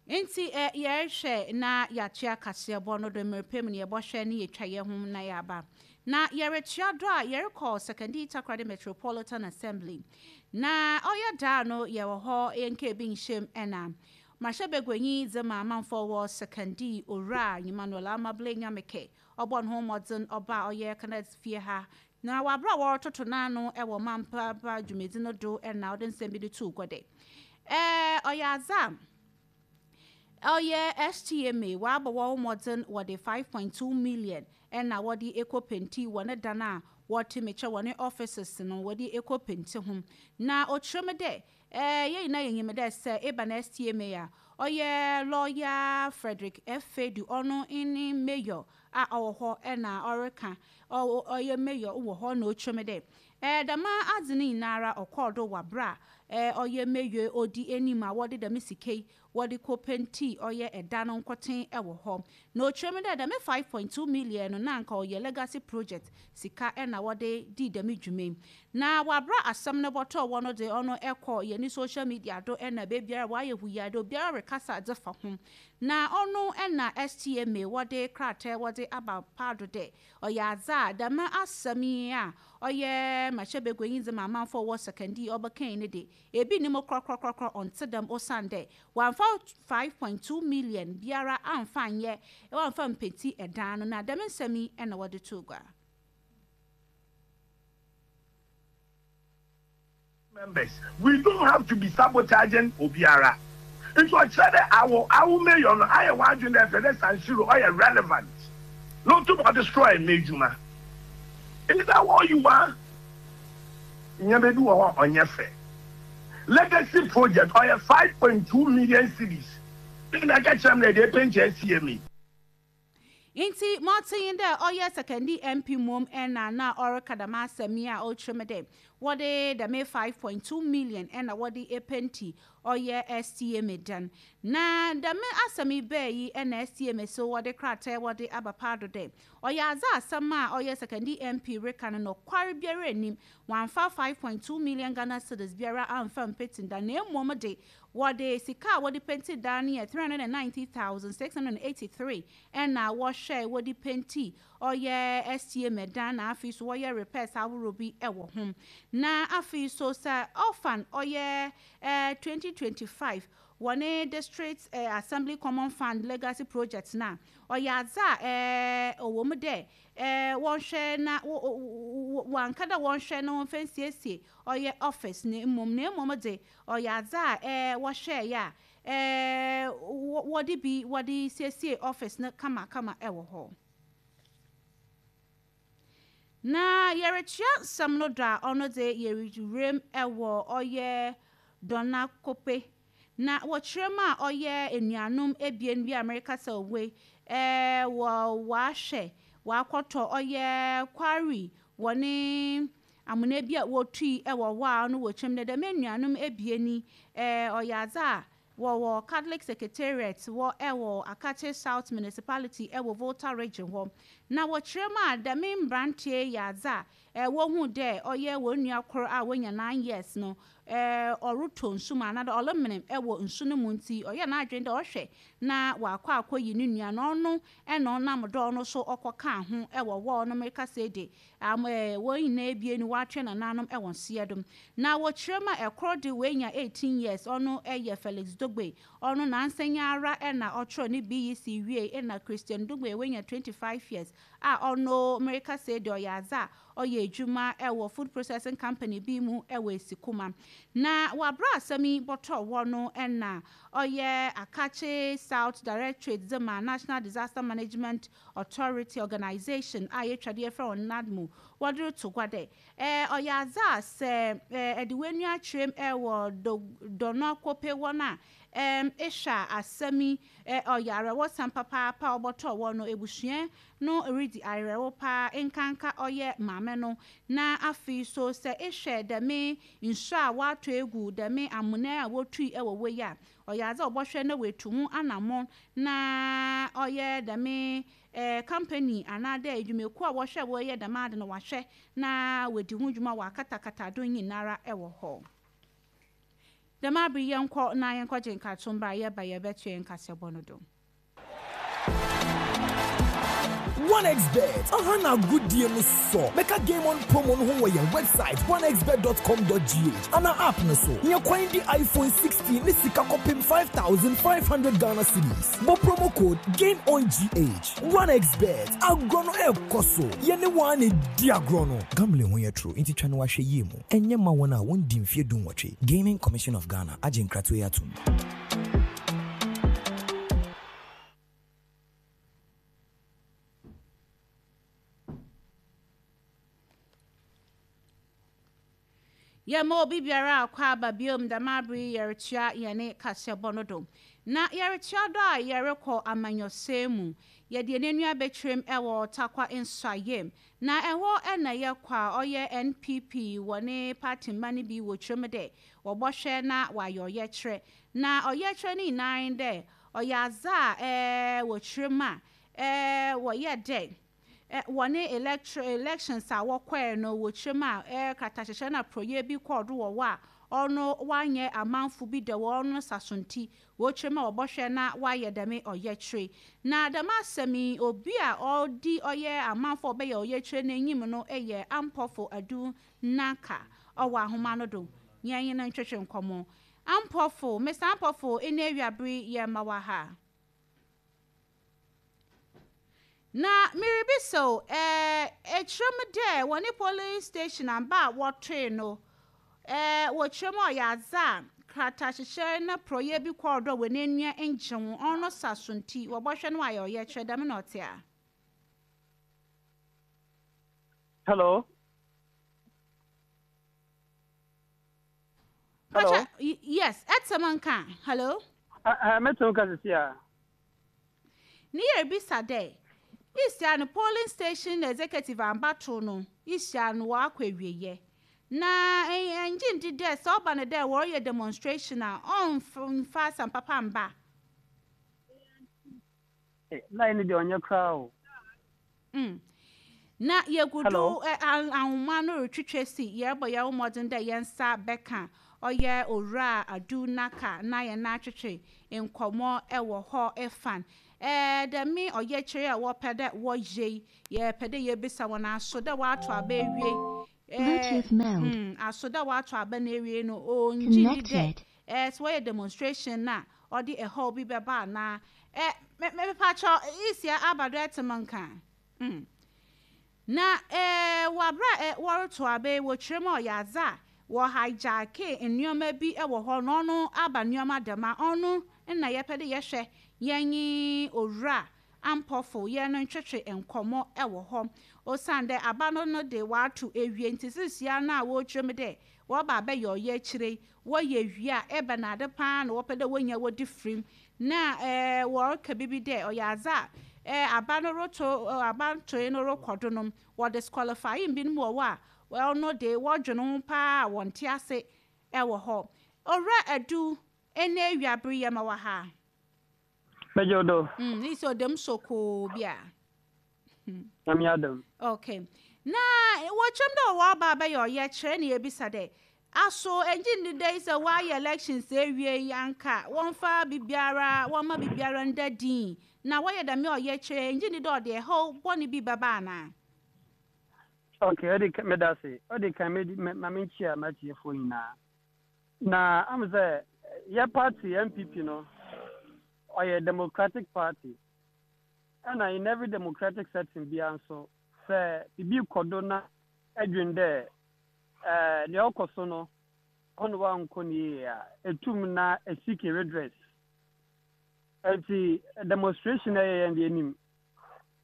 Ntsi yɛrohwɛ na yɛatoa kaseɛbɔ no do mber pa mu no yɛbɔhwɛ na yetwa hɛnho na yɛaba. Na yɛrotoa do a yɛrokɔ Sekondi Takoradi Metropolitan Assembly. Na ɔyɛ da no yɛwɔ hɔ yɛnnkɛɛ bi nnhyɛ mu na Mmarahyɛbaguanyi dze ma amamfo wɔ Sekondi Owura Emmanuel Amable Nyamekɛ ɔbɔɔ no ho mbɔdzen ɔbaa ɔyɛ Kenneth fie ha Na wɔ aber a wɔrototo n'ano wɔ ɔmampa dwumadzi no do na ɔdze nsɛm bi no too gua dɛ, Ɔyɛ adze a ɔyɛ STMA wɔabɔ hɔnho mbɔdzen wɔdze 5.2 million na wɔdze ekɔ penti wɔ ne dan a wɔtse mekyerɛ wɔ ne offices no wɔdze ekɔ penti ho. Na ɔkyerɛ mu dɛ, Hɛn nyina yenyim dɛ sɛ eba no STMA a, Ɔyɛ lɔya Frederick Effedu ɔno ne mayor a ɔwɔ hɔ na ɔreka ɔyɛ mayor wɔ hɔ na okyerɛ mu dɛ dɛm adze no nyinara ɔkɔr do wɔ aber a ɔyɛ mayor odi enyim a wɔdze dɛm sika yi wɔdze kɔ pentii ɔyɛ dan no nkotsee wɔ hɔ. Na okyerɛ mu dɛ dɛm 5.2 million no na anka ɔyɛ legacy project sika na wɔdze dii dɛm dwuma yi. Na wɔabra asɛm no bɔtɔɔ wɔ no dze ɔno kɔ yɛne social media do na beebiara wɔayɛ huyaa dɛ obiara rekasa dze fa ho. Na ɔno na STMA wɔdze krataa wɔdze aba paado dɛ ɔyɛ adze a dɛm asɛm yi a ɔyɛ mmarahyɛbaguanyi dze ma amanfo a wɔwɔ Sekondi ɔbɛkae no de, ebi nnyi mu korɔkorɔkorɔkorɔ ɔnntse dɛm osiandɛ wɔammfa 5.2 million biara ammfa annyɛ wɔammfa mmpenti dan no na dɛm nsɛm yi na wɔdze too gua. Members we don't have to be sabotaging obiara nti ɔkyerɛ dɛ awo awo mayor no ayɛ w'adwen dɛ ɛpɛ dɛ San Siro ɔyɛ relevant na otum ɔdestroy m'edwuma is that what you want? Nneɛma bi wɔ hɔ a ɔnyɛ fɛ legacy project ɔyɛ 5.2 million cedis na ɛka kyerɛ me dɛ ɛde ɛpɛnkyɛ asie me. Ntsi ma ɔtse nye dɛ ɔyɛ Sekondi MP mbom na na ɔreka dɛm asɛm yi a ɔrekyerɛ mu dɛ wɔde dɛm 5.2 million na wɔde epenti ɔyɛ STMA dan. Na dɛm asɛm yi baa yi na STMA so wɔde krataa wɔde aba paado dɛ ɔyɛ adze a asɛm a ɔyɛ Sekondi MP reka no nokwar biara nnim, wɔammfa 5.2 million Ghana cedis biara ammfa mmpetsi dan na mbom de Wɔde sika a wɔde penti dan no yɛ 390,683 ɛna wɔhwɛe wɔde penti ɔyɛ STMA dan na afei so wɔyɛ repairs ahorow bi wɔ ho. Na afei so sɛ ɔfan ɔyɛ 2025 wɔne District Assembly Common Fund Legacy Project no a, ɔyɛ adze a ɔwɔ mu dɛ wɔnhwɛ na wɔanka dɛ wɔnhwɛ na wɔmfa nsiesie ɔyɛ office no mbom na mbom dze Ɔyɛ adze a wɔhwɛe a wɔdze bi wɔdze siesie office no kamakama wɔ hɔ. Na yɛrekyea nsɛm no do a, ɔno dze yerewura mu wɔ ɔyɛ Dɔnakope. Na wɔkyerɛ mu a ɔyɛ enuanom ebien bi a merekasa wɔ yi, wɔ wɔahwɛ wɔakɔtɔ ɔyɛ quarry wɔne Amona bi a wotui wɔ hɔ a ɔno wɔ kyɛm dɛ dɛm enuanom ebien yi ɔyɛ adze a wɔwɔ Catholic Secretariat wɔ wɔ Akatse South Municipality wɔ Volta Region hɔ. Na wɔkyerɛ mu a dɛm mberantsɛ yi yɛ adze a wohun dɛ ɔyɛ hɔn nua kor a oenya nine years no ɔrotɔ nsu mu anaadɛ ɔremen wɔ nsu no mu ntsi ɔyɛɛ n'adwen dɛ ɔhwɛ na ɔakɔ akɔyi no nua no ɔno na ɔnam dɛ ɔno so ɔkɔkaa ho wɔ hɔ a ɔno merekasa yi de Am eh, wɔn nyinaa ebien no wɔatwe nananom wɔ nseɛ do. Na wɔkyerɛ mu a ɛkoro de wanya 18 years, ɔno yɛ Felix Dogbe, ɔno nansa yi ara na ɔtwerɛ ne BEC wiei na Christian Dogbe wanya 25 years a ɔno mereka sei deɛ ɔyɛ adze a ɔyɛ adwuma wɔ food processing company bi mu wɔ Esikuma. Na wɔ aberɛ a asɛm yi bɔtɔɔ hɔ no na ɔyɛ Akatse South Directorate dze ma National Disaster Management Authority Organisation a yetwa do yɛfrɛ hɔn NADMO wɔdze roto gua dɛ, ɔyɛ adze a sɛ edze w'enyi akyerɛ mu wɔ Dɔnɔkope hɔ no a, ehwɛ a asɛm yi ɔyɛ awerɛhosɛm papaapa a ɔbɔtɔɔ hɔ no, ebusua no ridzi awerɛhow paa nkanka ɔyɛ maame no. Na afei so sɛ ehwɛ dɛm nsu a wɔatɔ egu dɛm amona a wotui wɔ hɔ yi a, Ɔyɛ adze a ɔbɔhwɛ na oetu ho anamɔn na ɔyɛ dɛm company anaa dɛ edwumakuw a wɔhwɛ wɔyɛ dɛm adze no wɔahwɛ na woedzi ho dwuma wɔakatakata do nyinara wɔ hɔ. Dɛm aber yi yɛnkɔ na yɛnkɔgye nkato mbra yɛba yɛbɛtoa hɛn kasɛbɔ no do. 1xBet, aha na agodie no sɔ. Bɛka Game On promo no ho wɔ yɛn website 1xbet.com.gh anaa app no so. Nya kwan di iPhone 16 ne sika kɔpem 5,500 Ghana cedis. Bɔ promo code GAMEONGH. 1xBet, agorɔ no ɛrekɔ so. Yɛne wo ara na ɛdi agorɔ no. Gambling ho yɛ toro nti twa no ahwɛ yie mu. Ɛnyɛ mma wɔn a wɔndi mfeɛ dunwɔtwe. Gaming Commission of Ghana agye nkratoɔ yi atom. Yɛma obi biara akwaaba biom dɛm aber yi yɛretoa hɛn kaseɛbɔ no do. Na yɛretoa do a yɛrokɔ amanyɔsɛm mu. Yɛde hɛn enyiwa bɛkyerɛ mu wɔ Tarkwa Nsuaem. Na ɛhɔ na yɛkɔ a ɔyɛ NPP wɔne party mba no bi wɔkyerɛ mu dɛ wɔbɔhwɛ na wɔayɛ ɔyɛkyerɛ. Na ɔyɛkyerɛ no nyinaa nye dɛ ɔyɛ adze a wɔkyerɛ mu a wɔyɛ dɛ wɔne electro elections a wɔkɔɛ no wɔkyerɛ mu a kratahyehyɛ na prɔyɛ bi kɔɔ do wɔ hɔ a ɔno wɔanyɛ amanfo bi dɛ wɔn saso nti wɔkyerɛ mu a wɔbɔhwɛ na wɔayɛ dɛm ɔyɛkyerɛ. Na dɛm asɛm yi obi a ɔdi ɔyɛ amanfo a ɔbɛyɛ ɔyɛkyerɛ n'enyim no yɛ Ampɔfo Adu Nanka ɔwɔ ahoma no do. Yɛn no ntwetwe nkɔmmɔ. Ampɔfo, Mr. Ampɔfo, ɛne awiabere yɛ ma wɔ ha. Na merebisa o, ɛkyerɛ mu dɛ wɔne polling station amba a wɔtoe no, wɔkyerɛ mu a ɔyɛ adze a kratahyehyɛ na prɔyɛ bi kɔɔ do a wɔn enua ngye ho, ɔno sa so nti wɔbɔhwɛ no ayɛ ɔyɛkyerɛ, dɛm na ɔtse a? Hello. Hello. Pacha, yes, ɛtɛm nka. Hello. Mɛtɛm nka sisi a. Ne yɛrebisa dɛ, isia no polling station executive ambato no, isia no wɔakɔ awieyɛ. Na ɛngye ndi dɛ sɛ ɔba no dɛ wɔreyɛ demonstration a, ɔmfa asɛm papa mba. Line no deɛ ɔnyɛ koraa o. Na yegu do ahoma no rotwitwa si, yɛrobɔ hɛnho mbɔdzen dɛ hɛn nsa bɛkã ɔyɛ Owura Adu Naka na hɛn atwetwe nkɔmbɔ wɔ hɔ fan. Dɛm ɔyɛkyerɛ a wɔpɛ dɛ wɔyɛ yi, yɛpɛ dɛ yebisa hɔn aso dɛ wɔato aba ewie, Bluetooth mode. aso dɛ wɔato aba no ewie no, onngye nndi dɛ sɛ wɔyɛ demonstration no a ɔde ɛhaw bi bɛba anaa. Mepakyɛw, isia aba do ɛtse me nka? Na wɔ aber a wɔrotow aba yi, wɔkyerɛ mu a ɔyɛ adze a wɔ hijackee nneɛma bi wɔ hɔ na ɔno aba nneɛma dɛm a, ɔno na yɛpɛ dɛ yɛhwɛ yɛnye Owura Ampofo yɛn no ntwetwe nkɔmbɔ wɔ hɔ. Osiandɛ aba no no de wɔato ewie ntsi seseiara no a wɔrekyerɛ mu dɛ wɔreba abɛyɛ ɔyɛkyerɛ yi, wɔyɛ wie a ebɛnadze paa na wɔpɛ dɛ wonya wɔdze fir mu na wɔreka biribi dɛ ɔyɛ adze a aba no roto abantoe no rokɔ do no, wɔ disqualifying binom wɔ hɔ a ɔno de wɔdwen ho paa a wɔnntse ase wɔ hɔ. Owura Adu, ene ewiaber yi yɛma wɔ ha. Megye wo do. Iyi sɛ ɔda mu sokoo bi a. Nyame adom. Okay. Na wɔkyerɛ mu dɛ wɔwɔ aba abɛyɛ ɔyɛkyerɛ na yɛbisa dɛ, aso enngye nndi dɛ sɛ wɔayɛ elections ewie yi anka wɔmfa biribiara, wɔmma biribiara nda dinn na wɔyɛ dɛm ɔyɛkyerɛ yi, enngye nndi dɛ ɔde ɛhaw bɔne bi bɛba anaa? Okay, ɔde kan, meda ase. Ɔde kan, me, ma menkyia m'atiefoɔ nyinaa. Na am sɛ yɛ party NPP no, ɔyɛ democratic party. Ɛna in every democratic setting biara nso, sɛ biribi kɔ do na edwen dɛ eh, nea ɔkɔ so no, ɔno wankɔ no yie a, etum na eseek redress. Enti demonstration a yɛyɛ no deɛ nim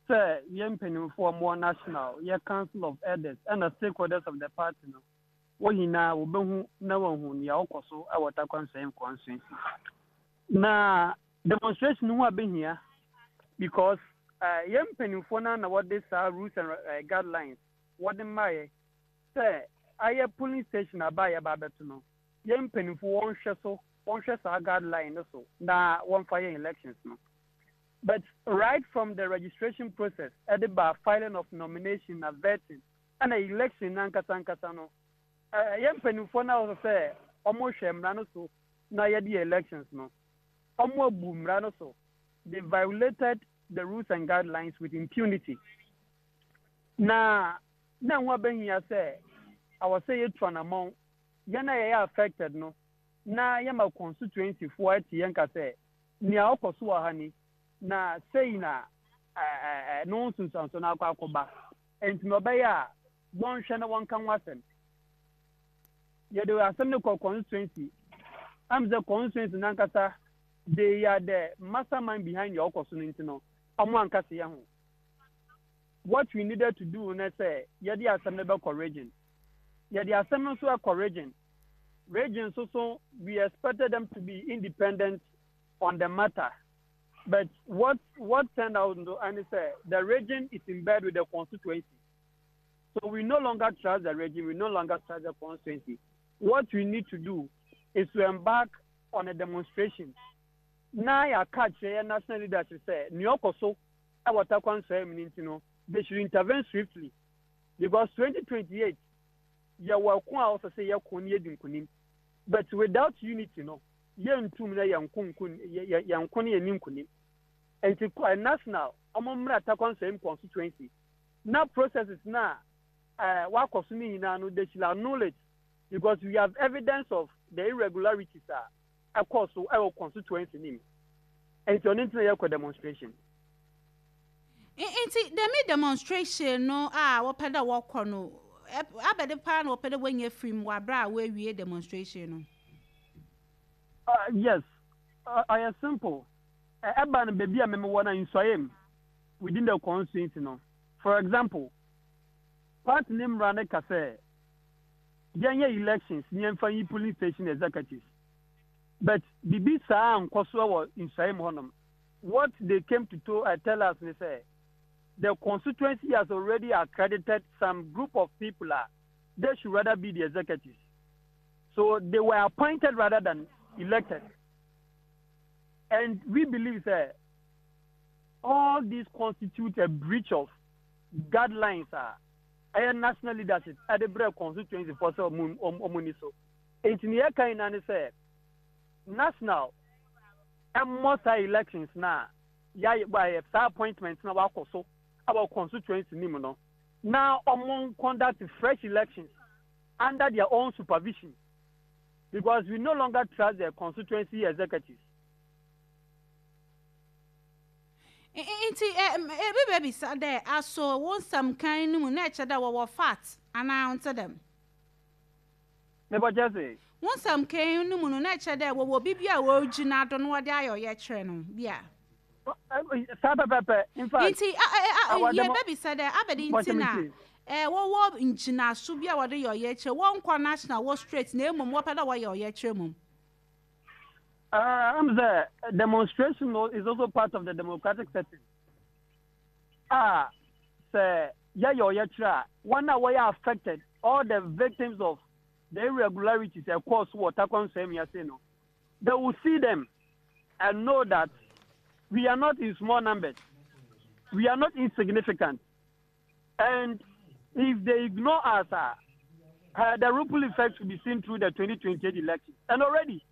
sɛ yɛn mpanimfoɔ a wɔwɔ national, yɛ council of elders ɛna stakeholders of the party no, wɔn nyinaa wɔbɛhu na wɔahu nea ɔkɔ so wɔ Tarkwa Nsuaem constituency. Na demonstration ho abɛhia because yɛn mpanimfoɔ no na wɔde saa rules and guidelines wɔde mmaeɛ sɛ ayɛ polling station aba a yɛba abɛto no, yɛn mpanimfoɔ wɔnhwɛ so, wɔnhwɛ saa guideline no so na wɔmfa yɛn elections no. But right from the registration process ɛde ba filing of nomination na vetting ɛna election no ankasa ankasa no, yɛn mpanimfoɔ no a wɔsɛ sɛ wɔhwɛ mmara no so na yɛde yɛ elections no, wɔabu mmara no so. They violated the rules and guidelines with impunity. Na na ɛho abɛhia sɛ awɔ sɛ yɛtu anammɔn, yɛn a yɛyɛ affected no, na yɛma constituency foɔ ate yɛn ka sɛ nea ɔkɔ so wɔ ha ni, na sei na ɛno ho nsunsuansoɔ no akɔ akɔba. Enti na ɔbɛyɛ a wɔnhwɛ na wɔnka ho asɛm. Yɛde asɛm no kɔ constituency. Am sɛ constituency nankasa they are the mastermind behind nea ɔkɔ so no nti no, ɔmo anka se yɛ ho. What we needed to do ne sɛ yɛde asɛm no bɛkɔ region. Yɛde asɛm no nso ɛkɔ region. Region nso so we expected them to be independent on the matter. But what what turned out no ɛne sɛ the region is in bed with the constituency. So we no longer trust the region, we no longer trust the constituency. What we need to do is to embark on a demonstration. Na yɛaka akyerɛ yɛn national leadership sɛ nea ɔkɔ so wɔ Tarkwa nsɔe mu no nti no, they should intervene swiftly because 2028 yɛwɔ ɛko a ɔsɛ sɛ yɛko na yɛdi nkonim. But without unity no, yɛntum na yɛnko nko yɛnko na yɛnni nkonim. Nti national ɔmo mmra Tarkwa Nsɔem constituency na processes na wakɔ so no nyinaa no, they should annul it because we have evidence of the irregularities a ɛkɔ so ɛwɔ constituency no mu. Nti ɔno nti na yɛkɔ demonstration. Nti dɛm demonstration no a wɔpɛ dɛ wɔkɔ no, abɛde paa na wɔpɛ dɛ wɔnya firi mu wɔ abere a wɔawie demonstration no? Yes, ɔyɛ simple. Ɛba no baabi a meme wɔ no Nsuaem mu within the constituency no. For example, party ne mmara no ka sɛ yɛnyɛ elections ne yɛmfa nyi polling station executives. But biribi saa nkɔ so wɔ Nsuaem hɔnom. What they came to tell us ne sɛ the constituency has already accredited some group of people a they should rather be the executives. So they were appointed rather than elected. And we believe that all these constitute a breach of guidelines a ɛyɛ national leadership ɛde brɛ constituency for sɛ ɔmo ni so. Nti ne yɛka nyinaa ne sɛ national ɛmmɔ saa elections na yɛayɛ saa appointment na wakɔ so ɛwɔ constituency nim no na ɔmo conduct fresh elections under their own supervision because we no longer trust the constituency executives. Nti ebi bɛbisa dɛ, aso wo nsɛm kan no mu na ɛkyɛ dɛ wɔwɔ fault anaa nte dɛm? Mebɔkyɛ se. Wo nsɛm kan no mu no na ɛkyɛ dɛ wɔwɔ bibi a wɔgyina do na wɔde ayɛ ɔyɛkyerɛ no bi a. Saa pɛpɛpɛ. In fact. Nti yɛbɛbisa dɛ abɛde nti na wɔwɔ ngyinaso bi a wɔde yɛ ɔyɛkyerɛ, wɔnkɔ national wɔ straight na emom wɔpɛ dɛ wɔyɛ ɔyɛkyerɛ mom? I'm the demonstration is also part of the democratic setting. Ah, sɛ yɛyɛ ɔyɛkyerɛ a, wɔn a wɔyɛ affected, all the victims of the irregularities ɛkɔɔ so wɔ Tarkwa Nsuaem ase no, they will see them and know that we are not in small numbers, we are not insignificant, and if they ignore us, the ripple effect will be seen through the 2028 election. And already,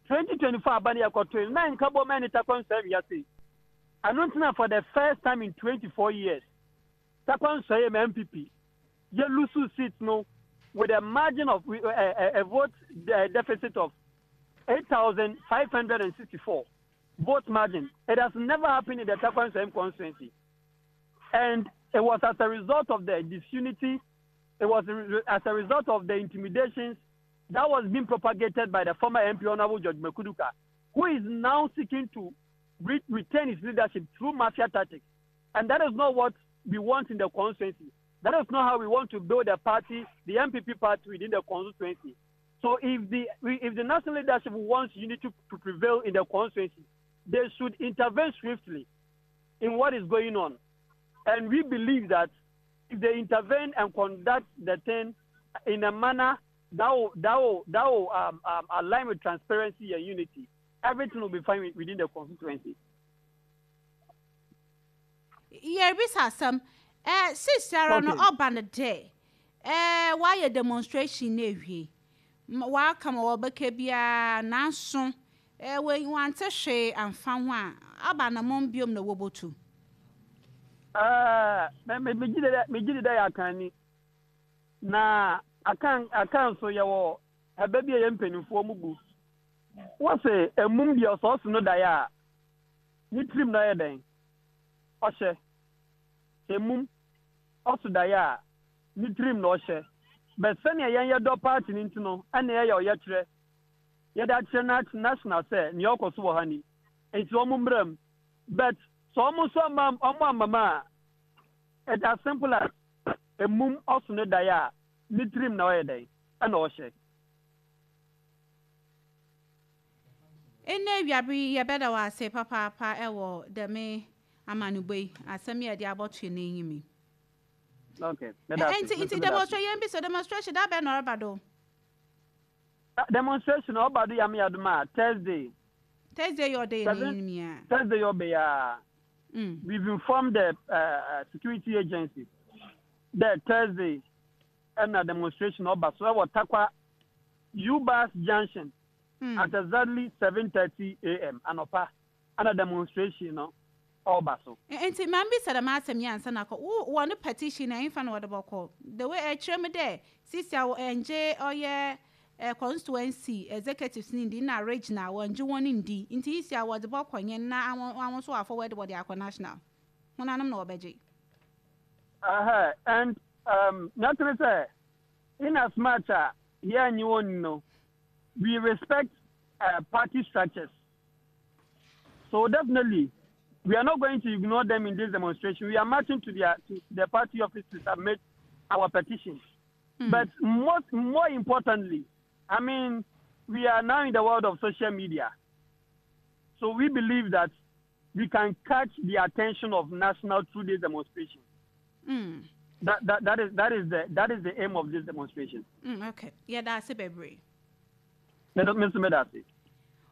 2024 abani akoto na nkabom ɛne Tarkwa Nsuaem ase. Ɛno ntina for the first time in 24 years, Tarkwa Nsuaem NPP yɛ lose seat no with a margin of a vote deficit of 8,564 vote margin. It has never happened in the Tarkwa Nsuaem constituency. And it was as a result of the disunity, it was as a result of the intimidations that was being propagated by the former MP Honorable George Mekuduka, who is now seeking to retain his leadership through mafia tactics. And that is not what we want in the constituency. That is not how we want to build a party, the NPP party within the constituency. So if the national leadership wants unity to prevail in the constituency, they should intervene swiftly in what is going on. And we believe that if they intervene and conduct the thing in a manner that will align with transparency and unity, everything will be fine within the constituency. Yɛrebisa asɛm sisiara no, ɔba no dɛ wayɛ demonstration na ewie, waka ma wɔbɛka biara, nanso wante hwee amfa ho a, aba na mɔm biom na wɔbɔtu? Megye di dɛ yɛ akanni na akan akan so yɛwɔ ɛbɛ bi a yɛ mpanimfoɔ mu bu wɔsɛ emum deɛ ɔsɔɔso no daeɛ a ne tirim na ɔyɛ dɛn ɔhyɛ. Emum ɔso daeɛ a ne tirim na ɔhyɛ bɛ sɛnea yɛn yɛ dɔ party ne nti no, ɛna yɛyɛ ɔyɛkyerɛ yɛde akyerɛ national sɛ nea ɔkɔ so wɔ ha ni, nti wɔn mmerɛ mu. But sɛ wɔn nso ama wɔn amama a, it's as simple as emum ɔso ne daeɛ a. ne tirim na ɔyɛ dɛn ɛna ɔhyɛ. Ndɛ ewiaber yi yɛbɛda wo ase papaapa wɔ dɛm amanobɔ yi, asɛm yi a edze abɔto hɛn enyim yi. Okay, meda ase. Ntsi, ntsi demonstration, yɛmbisa, demonstration da bɛn na ɔreba do? Demonstration ɔba do Nyame adom a, Thursday. Thursday yi ɔda hɛn enyim yi a. Thursday yi ɔba yi a. We've informed the security agencies dɛ Thursday na demonstration ɔba so wɔ Tarkwa U-Bus Junction at exactly 7:30 am anɔpa na demonstration no ɔreba so. Ntsi ma mibisa dɛm asɛm yi ansa na akɔ, wo hɔn petition no henfa na wɔdze bɔkɔ? The way ɛkyerɛ mu dɛ sisi a wɔnngye ɔyɛ constituency executives no nndi nna regional wɔnngye hɔn nndi ntsi sisi a wɔdze bɔkɔ hen na hɔn so wɔafɔward wɔdze akɔ national? Honanom na wɔbɛgye? Ɛhɛ, and um, nea ɛte ne sɛ, in as much a yɛannye wɔn nni no, we respect uh, party structures. So definitely, we are not going to ignore them in this demonstration. We are marching to their to the party office to submit our petition. But most more importantly, I mean, we are now in the world of social media. So we believe that we can catch the attention of national through this demonstration. That, that, that, is, that, is the, that is the aim of this demonstration. Okay. Yeah, that's it, baby. Me nso meda ase.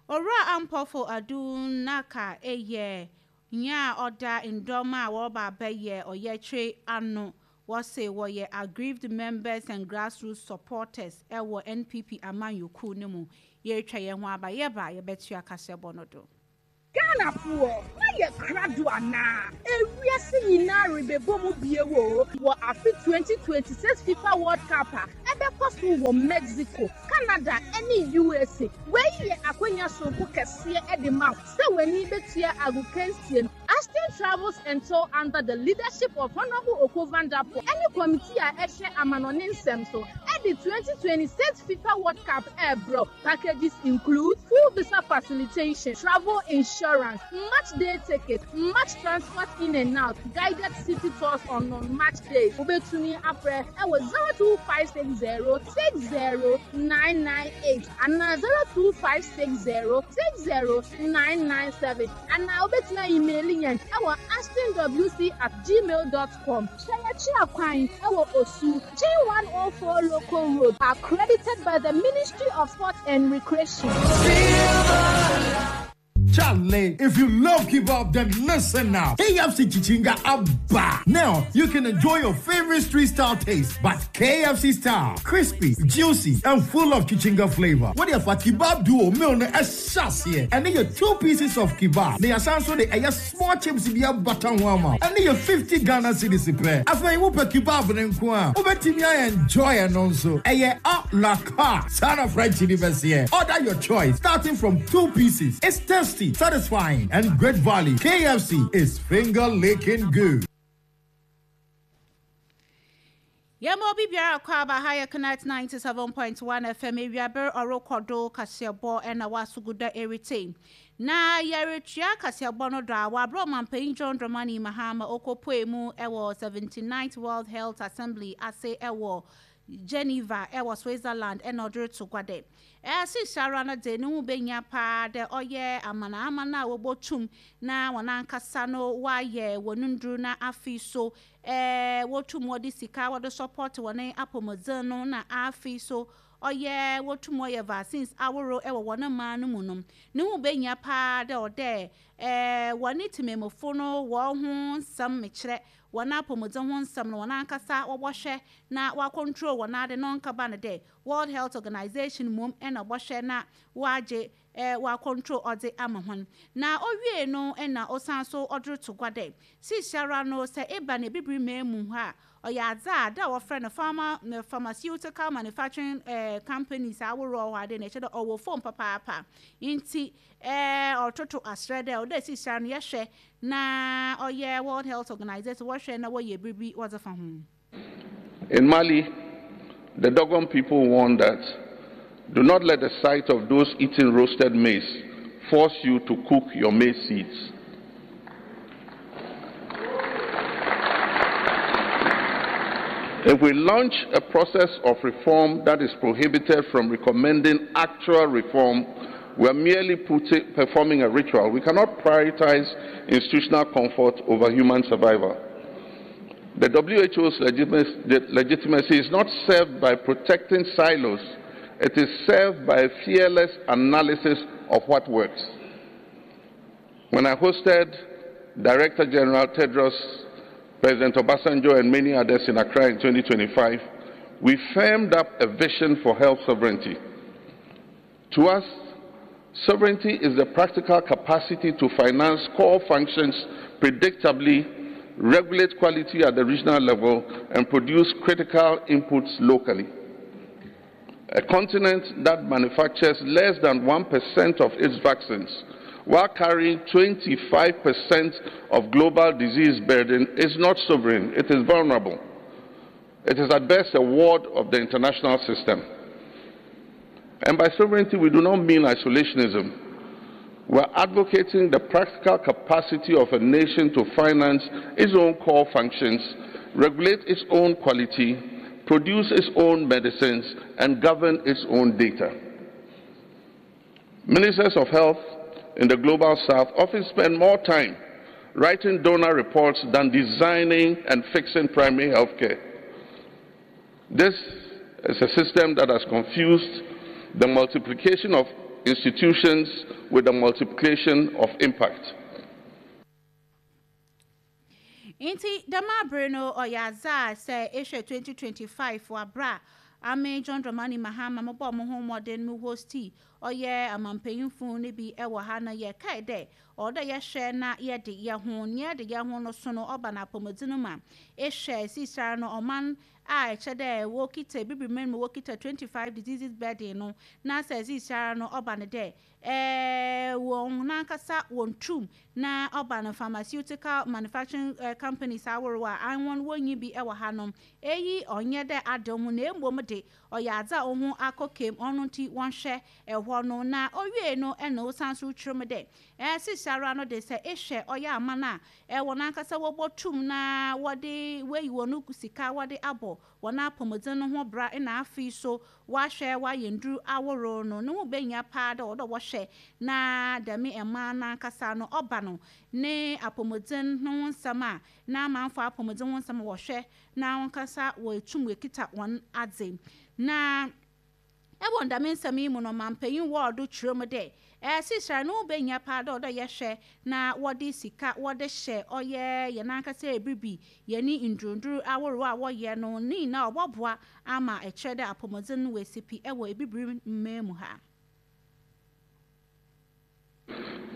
Owura Ampofo Adu Naka yɛ nyia a ɔda ndɔm a wɔreba abɛyɛ ɔyɛkyerɛ ano. Wɔse wɔyɛ aggrieved members and grassroots supporters wɔ NPP amanyɔkuw no mu. Yɛretwa yɛn ho aba, yɛba a yɛbɛtoa kaseɛbɔ no do. Ghanafoɔ, moayɛ krado anaa? Ewiase nyinaa rebɛbɔ mu bio o wɔ afe 2026 FIFA World Cup a ɛbɛkɔ so wɔ Mexico, Canada ne USA. Wei yɛ akwanya soronko kɛseɛ de ma wo sɛ w'ani bɛtua agokansie no. Ashton Travels and Tour under the leadership of Honourable Oko Vanderpoel ne kɔmitii a ɛhwɛ amanɔne nsɛm so de 2026 FIFA World Cup rebrɛ wo. Packages include full visa facilitation, travel insurance, match day tickets, match transport in and out, guided city tours on non-match days. Wobɛtumi afrɛ ɛwɔ 02560 60998 anaa 02560 60997 anaa wobɛtumi ayimeeli yɛn ɛwɔ ashtonwc at gmail dot com. Hwɛ yɛkyerɛ kwan ɛwɔ Osu, Gye 104 Local Road, accredited by the Ministry of Sports and Recreation. Charlie, if you love kebab, then listen now. KFC Chichinga Abba. Now you can enjoy your favorite street style taste, but KFC style, crispy, juicy, and full of chichinga flavor. What if a kebab duo meal no ɛhyɛ And your two pieces of kebab. They are so the ɛyɛ small chips bi abata ho ama wo. Ɛne yɛ 50 Ghana cedis pɛ. Afei wopɛ kebab no nko a, wobɛtumi a enjoy ɛno nso. Ɛyɛ a la carte. Saa na French ni bɛseɛ. Order your choice starting from two pieces. It's tasty, satisfying and great value. KFC is finger licking good. Yɛma obi biara kɔ aba ha yɛ Connect 97.1 FM ewiaber ɔrokɔ do kaseɛbɔ na w'asoguda eritse. Na yɛretua kaseɛbɔ no do a, wɔ aber a Ɔmampanyin John Dramani Mahama okopuee mu wɔ 79th World Health Assembly ase wɔ Geneva wɔ Switzerland na ɔdze roto gua dɛ, Seseiara no dze, no ho behia paa dɛ ɔyɛ amanaman a wobotum na hɔn ankasa no wɔayɛ hɔn ndur na afei so wotum wɔdze sika wɔdze support hɔn apɔwmudzen no na afei so ɔyɛ wotum wɔyɛ vaccines ahorow wɔ hɔn man no mu no, no ho behia paa dɛ ɔwɔ dɛ hɔn tsemamufo no hɔn ho nsɛm mekyerɛ hɔn apɔwmudzen ho nsɛm no hɔn ankasa wɔbɔhwɛ na wɔacontrol hɔn ade na ɔnnkɛba no dɛ World Health Organization mbom na ɔbɔhwɛ na wɔagye ɔacontrol ɔdze ama hɔn. Na owiei no nna ɔsan so ɔdze roto gua dɛ, Seseiara no sɛ eba no Ebibir man mu ha a, ɔyɛ adze a da a wɔfrɛ no pharma pharmaceutical manufacturing companies ahorow wɔ hɔ ade no, kyerɛ dɛ ɔwɔ famu papaapa. Ntsi ɔrototo aserɛ dɛ ɔwɔ dɛ seseiara no yɛhwɛ na ɔyɛ World Health Organization wɔhwɛ na wɔyɛ biribi wɔdze fa ho. In Mali, the Dogon people warn that do not let the sight of those eating roasted maize force you to cook your maize seeds. If we launch a process of reform that is prohibited from recommending actual reform, we are merely performing a ritual. We cannot prioritize institutional comfort over human survival. The WHO's legitimacy is not served by protecting silos. It is served by a fearless analysis of what works. When I hosted Director General Tedros, President Obasanjo, and many others in Accra in 2025, we firmed up a vision for health sovereignty. To us, sovereignty is the practical capacity to finance core functions predictably, regulate quality at the regional level, and produce critical inputs locally. A continent that manufactures less than 1% of its vaccines while carrying 25% of global disease burden is not sovereign, it is vulnerable. It is at best a ward of the international system. And by sovereignty, we do not mean isolationism. We're advocating the practical capacity of a nation to finance its own core functions, regulate its own quality, produce its own medicines, and govern its own data. Ministers of health in the global south often spend more time writing donor reports than designing and fixing primary health care. This is a system that has confused the multiplication of institutions with the multiplication of impact. Ntsi dɛm aber no ɔyɛ adze a sɛ ehwɛ 2025 wɔ aber a ame John Dramani Mahama mobɔɔ moho mbɔden mo hostii ɔyɛ amampanyimfo no bi wɔ ha no yɛkae dɛ ɔwɔ dɛ yɛhwɛ na yɛde hɛnho, nyia yɛde hɛnho no so no ɔba no apɔwmudzen mu a, ehwɛ seseiara no ɔman a ɛkyɛ dɛ wokitsa Ebibirman mu wokitsa 25 diseases burden no na sɛ seseiara no ɔba no dɛ Ɛɛ, wɔn ankasa wɔn tum na ɔba no pharmaceutical manufacturing companies ahorow a hɔn wonnyi bi wɔ hanom. Eyi ɔnnyɛ dɛ ade ho na mbom de ɔyɛ adze a oho akɔ kam, ɔno ntsi wɔnhwɛ hɔ no. Na owiei no nna osian so kyerɛ mu dɛ, ɛɛ, seseiara no de sɛ ehwɛ ɔyɛ aman a hɔn ankasa wobotum na wɔde woeyi hɔn sika wɔde abɔ hɔn apɔwmudzen no ho bra na afei so wɔahwɛ wɔayɛ ndur ahorow no, no ho behia paa dɛ ɔwɔ dɛ wɔhwɛ na dɛm mmaa no ankasa no ɔba no ne apɔwmudzen no ho nsɛm a, n'amamfo apɔwmudzen ho nsɛm a wɔhwɛ na hɔnkasa woetum woekitsa hɔn adze. Na wɔ dɛm nsɛm yi mu no, ɔmampanyin Ward kyerɛ mu dɛ, Seseiara no ho behia paa dɛ ɔwɔ dɛ yɛhwɛ na wɔdze sika wɔdze hyɛ ɔyɛ hɛn ankasa ebiribi, hɛn ndurdur ahorow a wɔyɛ no ne nyina ɔbɔboa ama ɛkyerɛ dɛ apɔwmudzen no woesi pi wɔ Ebibir man mu ha.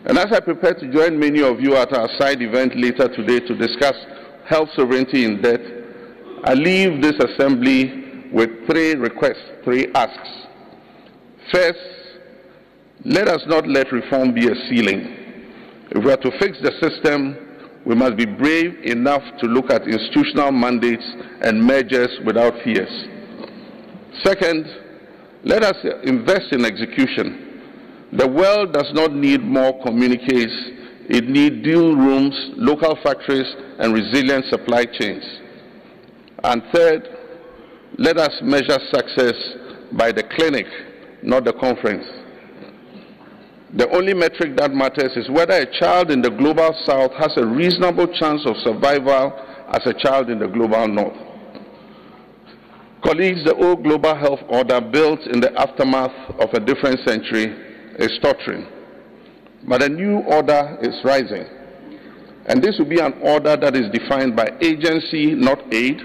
And as I prepare to join many of you at our side event later today to discuss health sovereignty in debt, I leave this assembly with three requests, three asks. First, let us not let reform be a ceiling. If we are to fix the system, we must be brave enough to look at institutional mandates and mergers without fears. Second, let us invest in execution. The world does not need more communiques. It needs deal rooms, local factories, and resilient supply chains. And third, let us measure success by the clinic, not the conference. The only metric that matters is whether a child in the global south has a reasonable chance of survival as a child in the global north. Colleagues, the old global health order built in the aftermath of a different century is tottering. But a new order is rising. And this will be an order that is defined by agency, not aid,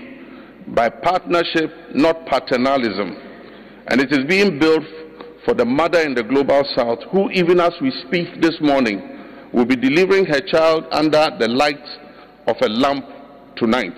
by partnership, not paternalism. And it is being built for the mother in the global south, who, even as we speak this morning, will be delivering her child under the light of a lamp tonight.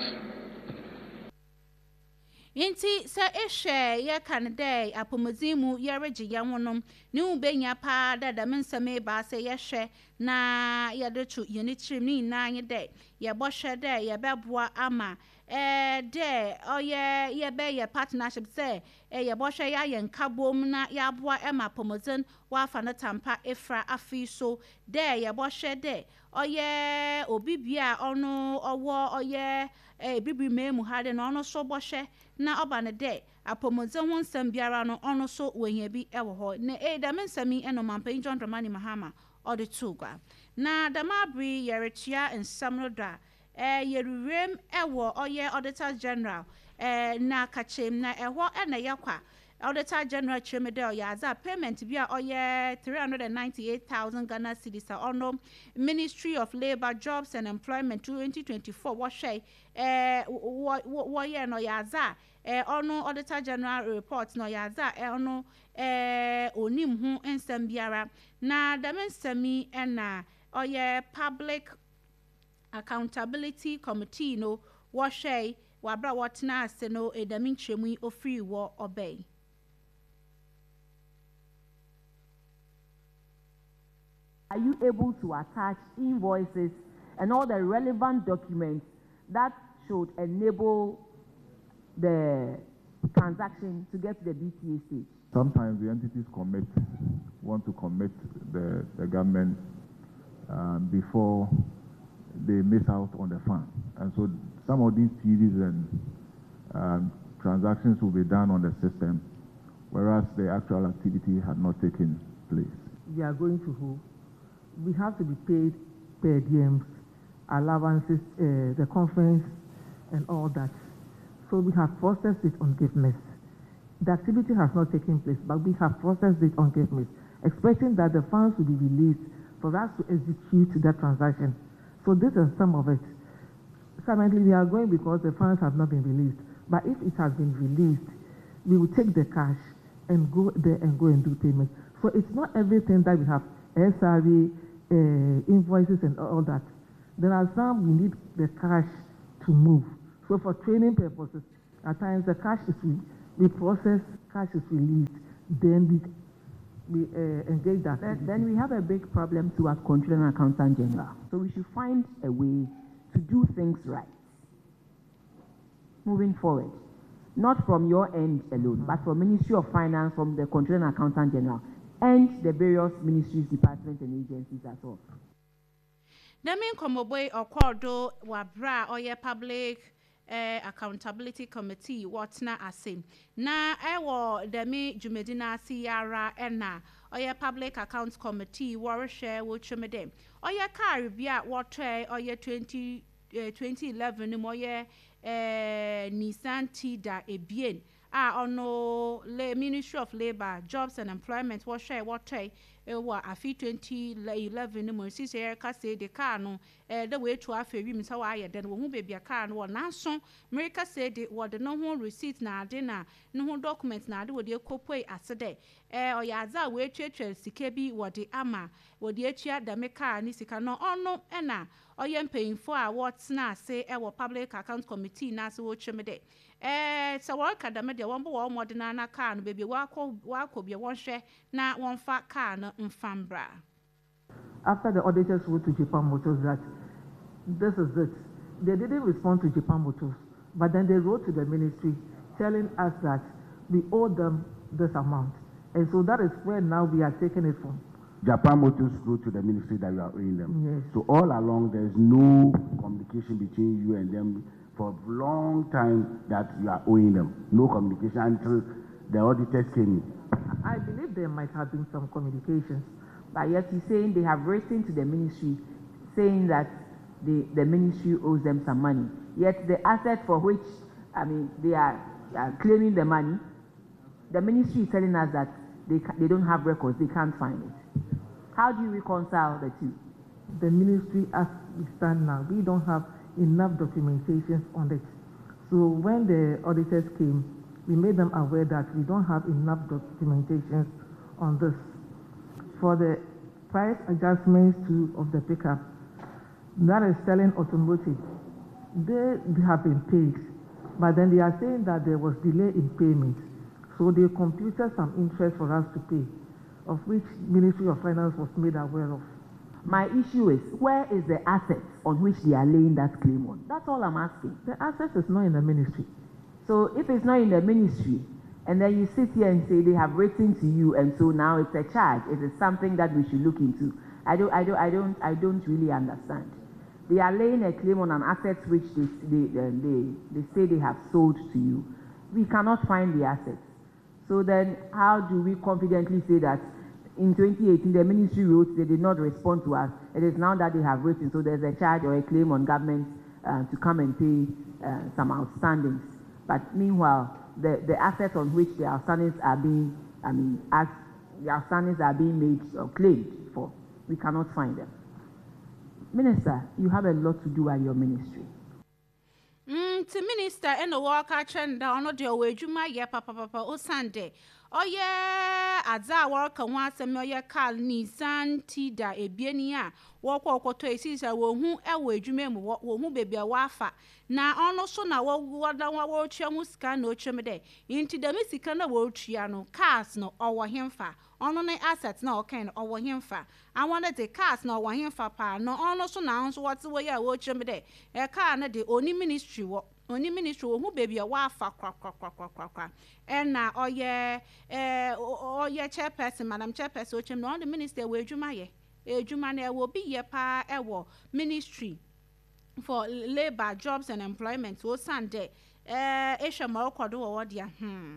Ntsi sɛ ehwɛ yɛka no dɛ apɔwmudzen mu yɛregye hɛnho no, no ho behia paa dɛ dɛm nsɛm ebiasa yi yɛhwɛ na yɛdze to hɛn tsirmu. Ne nyina nye dɛ yɛbɔhwɛ dɛ yɛbɛboa ama. Dɛ ɔyɛ yɛbɛyɛ partnership sɛ yɛbɔhwɛ yɛayɛ nkabom na yɛaboa ma apɔwmudzen wɔafa no tampa efura. Afei so dɛ yɛbɔhwɛ dɛ ɔyɛ obi bia a ɔno ɔwɔ ɔyɛ Ebibir man mu ha dɛ na ɔno so bɔhwɛ na ɔba no dɛ apɔwmudzen ho nsɛm biara no ɔno so oehia bi wɔ hɔ. Na dɛm nsɛm yi na Ɔmampanyin John Dramani Mahama ɔdze too gua. Na dɛm aber yi yɛrotoa nsɛm no do a, Yɛrewuram wɔ ɔyɛ Auditor General n'akakyem na ɛhɔ na yɛkɔ a, Auditor General kyerɛ mu dɛ ɔyɛ adze a payment bi a ɔyɛ 398,000 Ghana cedis a ɔno Ministry of Labour, Jobs and Employment 2024 wɔhwɛe wɔyɛɛ no ɔyɛ adze a ɔno Auditor General report no ɔyɛ adze a ɔno onnyim ho nsɛm biara na dɛm nsɛm yi na ɔyɛ Public Accountability Committee no wɔhwɛe wɔ aber a wɔtsenaa ase no dɛm nkyerɛmu yi ofirii hɔ ɔbae. Are you able to attach invoices and all the relevant documents that should enable the transaction to get to the BTA stage? Sometimes the entities commit, want to commit the, the government um, before they miss out on the fund. And so some of these TVs and um, transactions will be done on the system, whereas the actual activity had not taken place. We are going to who? We have to be paid per diems, allowances, uh, the conference, and all that. So we have processed it on GIFMIS. The activity has not taken place, but we have processed it on GIFMIS, expecting that the funds will be released for us to execute that transaction. So this is some of it. Currently, we are going because the funds have not been released. But if it has been released, we will take the cash and go there and go and do payment. So it's not everything that we have, SRA, uh, invoices and all that. There are some we need the cash to move. So for training purposes, at times the cash is we, we process, cash is released, then we we uh, engage that. Then, then we have a big problem to as Controller and Accountant General. So we should find a way to do things right moving forward. Not from your end alone, but from Ministry of Finance, from the Controller and Accountant General, and the various ministries, departments, and agencies as well. Dɛm nkɔmbɔbɔ yi ɔkɔr do wɔ aber a ɔyɛ Public Accountability Committee wɔtsena ase. Na wɔ dɛm dwumadzi no ase yi ara na ɔyɛ Public Accounts Committee wɔrohwɛ wokyerɛ mu dɛ ɔyɛ kaar bi a wɔtɔe ɔyɛ 2011 no mu ɔyɛ Nissan Tiida ebien a ɔno Ministry of Labour, Jobs and Employment wɔhwɛe wɔtɔe wɔ afe 2011 no mu. Sesei yɛrekasa yi de, kaar no dɛ woetu afa wimu sɛ wɔayɛ dɛn, wohu beebi a kaar no wɔ. Naaso merekasa yi de, wɔde no ho receipt na adze na no ho document na adze wɔdze ekopuei ase dɛ ɔyɛ adze a woetuatua sika bi wɔdze ama wɔdze etua dɛm kaar ne sika no. Ɔno na ɔyɛ mpanyimfo a wɔtsena ase wɔ Public Accounts Committee no ase wɔrekyerɛ mu dɛ Ɛɛ, sɛ wɔreka dɛm deɛ, wɔmbɔ wɔn mmɔden ara na kaa no, baabi a wɔakɔ wɔakɔ biara, wɔnhwɛ na wɔmfa kaa no mfa mbra. After the auditors wrote to Japan Motors that this is it, they didn't respond to Japan Motors, but then they wrote to the ministry telling us that we owe them this amount. And so that is where now we are taking it from. Japan Motors wrote to the ministry that you are owing them. Yes. So all along, there is no communication between you and them for a long time that you are owing them. No communication until the auditors came in. I believe there might have been some communications. But yet he's saying they have written to the ministry saying that the, the ministry owes them some money. Yet the asset for which, I mean, they are, are claiming the money, the ministry is telling us that they, they don't have records, they can't find it. How do you reconcile the two? The ministry, as we stand now, we don't have enough documentations on it. So when the auditors came, we made them aware that we don't have enough documentations on this. For the price adjustments to of the pickup, that is selling automotive, they have been paid, but then they are saying that there was delay in payment. So they computed some interest for us to pay, of which Ministry of Finance was made aware of. My issue is, where is the asset on which they are laying that claim on? That's all I'm asking. The asset is not in the ministry. So if it's not in the ministry, and then you sit here and say they have written to you, and so now it's a charge. It is something that we should look into. I don't, I don't, I don't, I don't really understand. They are laying a claim on an asset which they, they, they, they say they have sold to you. We cannot find the assets. So then, how do we confidently say that in 2018 the ministry wrote they did not respond to us? It is now that they have written, so there's a charge or a claim on government to come and pay some outstandings. But meanwhile, the, the assets on which the outstandings are being, I mean, as the outstandings are being made or claimed for, we cannot find them. Minister, you have a lot to do at your ministry. Nti minister ɛna wɔka kyerɛ no dɛ ɔno deɛ ɔwɔ adwuma yɛ papapapa osiane dɛ ɔyɛ adze a wɔreka ho asɛm ɔyɛ car Nissan Tiida ebien yi a wɔkɔ ɔkɔtɔ esi sɛ wɔhu ɛwɔ adwuma mu wɔ wɔhu beebi a wɔafa na ɔno so na wɔda wɔretua ho sika na ɔtwa mu dɛ nti dɛm sika na wɔretua no cars no ɔwɔ hemfa ɔno ne asset na ɔkan no ɔwɔ hemfa àwọn no de cars na ɔwɔ hemfa paa na ɔno so na nso wɔte wɔ yi a wɔrekyerɛ mu dɛ ɛ no de oni ministry wɔ oni ministry wɔhu beebi a wɔafa korakorakorakorakora ɛna ɔyɛ ɛɛ ɔyɛ chairperson madam chairperson ɔkyerɛ mu na ɔno de minister wɔ adwuma yɛ edwuma no ɛwɔ bi yɛ paa ɛwɔ ministry for labour jobs and employment osan dɛ ɛɛ ehwɛ ma ɔkɔ do wɔ hɔ deɛ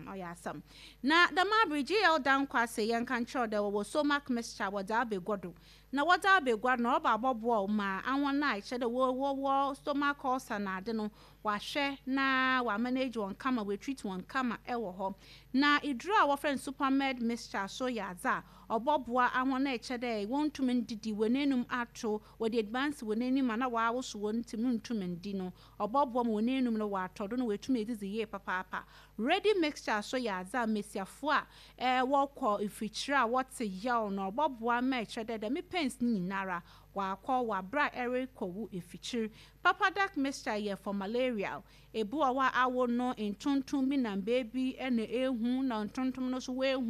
ɔyɛ asɛm na dɛm abere gl dankwa ase yɛn ka nkyerɛw dɛ wɔwɔ stomach mixture wɔdze abegua do na wɔdze abegua no ɔba abɔboa ma ahɔn a ɛkyɛ dɛ wɔwɔ stomach ulcer na ade no wahwɛ na wamanage wɔn kama wɔatreat wɔn kama ɛwɔ hɔ na eduro a wɔfrɛ no supermed mixture so yɛ adze a ɔbɔboa ahɔn a ɛkyɛ dɛ wɔntumi ndidi wɔn enum ato wɔde aduane si wɔn anim a na wɔawoso wɔn ntumi ntumi ndi no ɔbɔboa ma wɔn enum no wɔatɔ do na wɔatumi edidi yie papaapa ready mixture so yɛ adze a mmesiafo a ɛɛ wɔkɔ mfikyire a wɔte yaw no ɔbɔboa ma ɛkyerɛ dɛ dɛm pains ne nyinara wakɔ wabra ɛrekɔ wo efikyire papadak mixture yɛ for malaria ebi wɔ hɔ a awo no ntontom bi nam beebi ɛna ehu na ntontom no nso wɔehu.